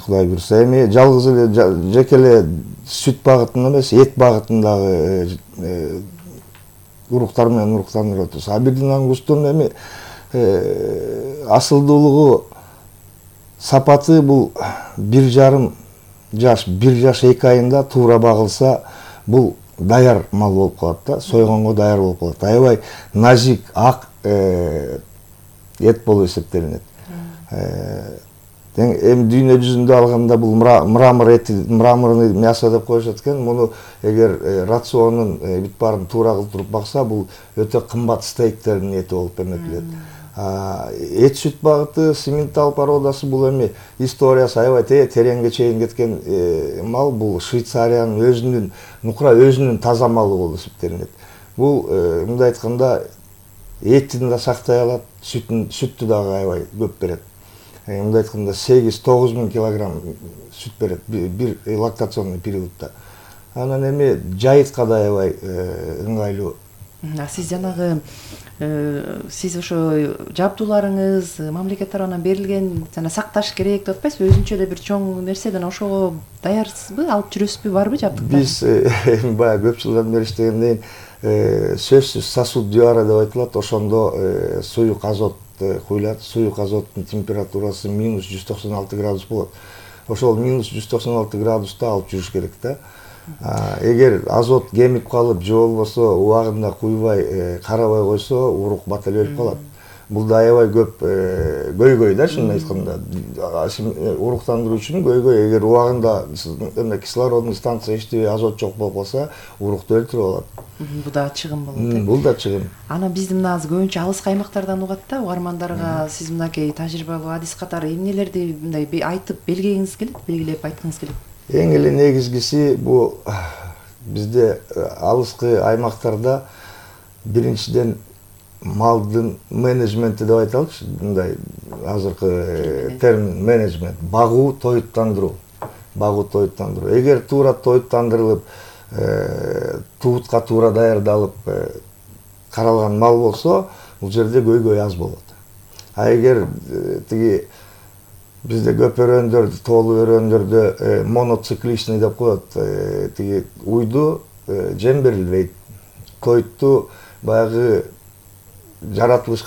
Кудай буйруса, эми жалгыз эле жеке эле сүт багытында эмес, эт багытындагы уруктар менен уруктандырып атабыз. А бирден ангустун эми асылдуулугу, сапаты бул бир жарым жаш, бир жаш эки айында туура багылса, бул даяр мал болуп калат да, сойгонго даяр болуп калат. Аябай назик, ак эт болуп эсептелинет. Эми дүйнө жүзүндө алганда бул мрамор эти, мраморный мясо деп коюшат экен. Муну эгер рационун бүт баарын туура кылдырып бакса, бул өтө кымбат стейктердин эти болуп эметилет. Эт сүт багыты, Симментал породасы бул эми историясы аябай тереңге чейин кеткен мал. Бул Швейцариянын өзүнүн, нукура өзүнүн таза малы болуп эсептелинет. Бул мындай айтканда этин да сактай алат, сүттү дагы аябай көп берет. Мындай айтканда сегиз тогуз миң килограмм сүт берет бир лактационный периодта. Анан эми жайытка да аябай ыңгайлуу. Сиз жанагы сиз ошо жабдууларыңыз мамлекет тарабынан берилген, жана сакташ керек деп атпайсызбы? Өзүнчө эле бир чоң нерседен ошого даярсызбы? Алып жүрөсүзбү, барбы жабдыктар? Биз эми баягы көп жылдан бери иштегенден кийин сөзсүз сосуд дюара деп айтылат. Ошондо суюк азот куюлат. Суюк азоттун температурасы минус жүз токсон алты градус болот. ошол минус жүз токсон алты градуста алып жүрүш керек да. Эгер азот кемип калып же болбосо убагында куйбай карабай койсо урук бата эле өлүп калат. Бул да аябай көп көйгөй да, чынын айтканда. Уруктандыруу үчүн көйгөй, эгер убагында кислородный станция иштебей азот жок болуп калса, урукту өлтүрүп алат. Бул да чыгым болот. Бул да чыгым. Анан бизди мына азыр көбүнчө алыскы аймактардан угат да, угармандарга сиз мынакей тажрыйбалуу адис катары эмнелерди мындай айтып белгилегиңиз келет, белгилеп айткыңыз келет? Эң эле негизгиси бул бизде алыскы аймактарда биринчиден малдын менеджменти деп айталычы, мындай азыркы термин менеджмент, багуу, тоюттандыруу. Багуу, тоюттандыруу. Эгер туура тоюттандырылып, туутка туура даярдалып каралган мал болсо, бул жерде көйгөй аз болот. А эгер тиги бизде көп өрөөндөрдө, тоолуу өрөөндөрдө моноцикличный деп коет, тиги уйду жем берилбейт. Тоютту баягы жаратылышка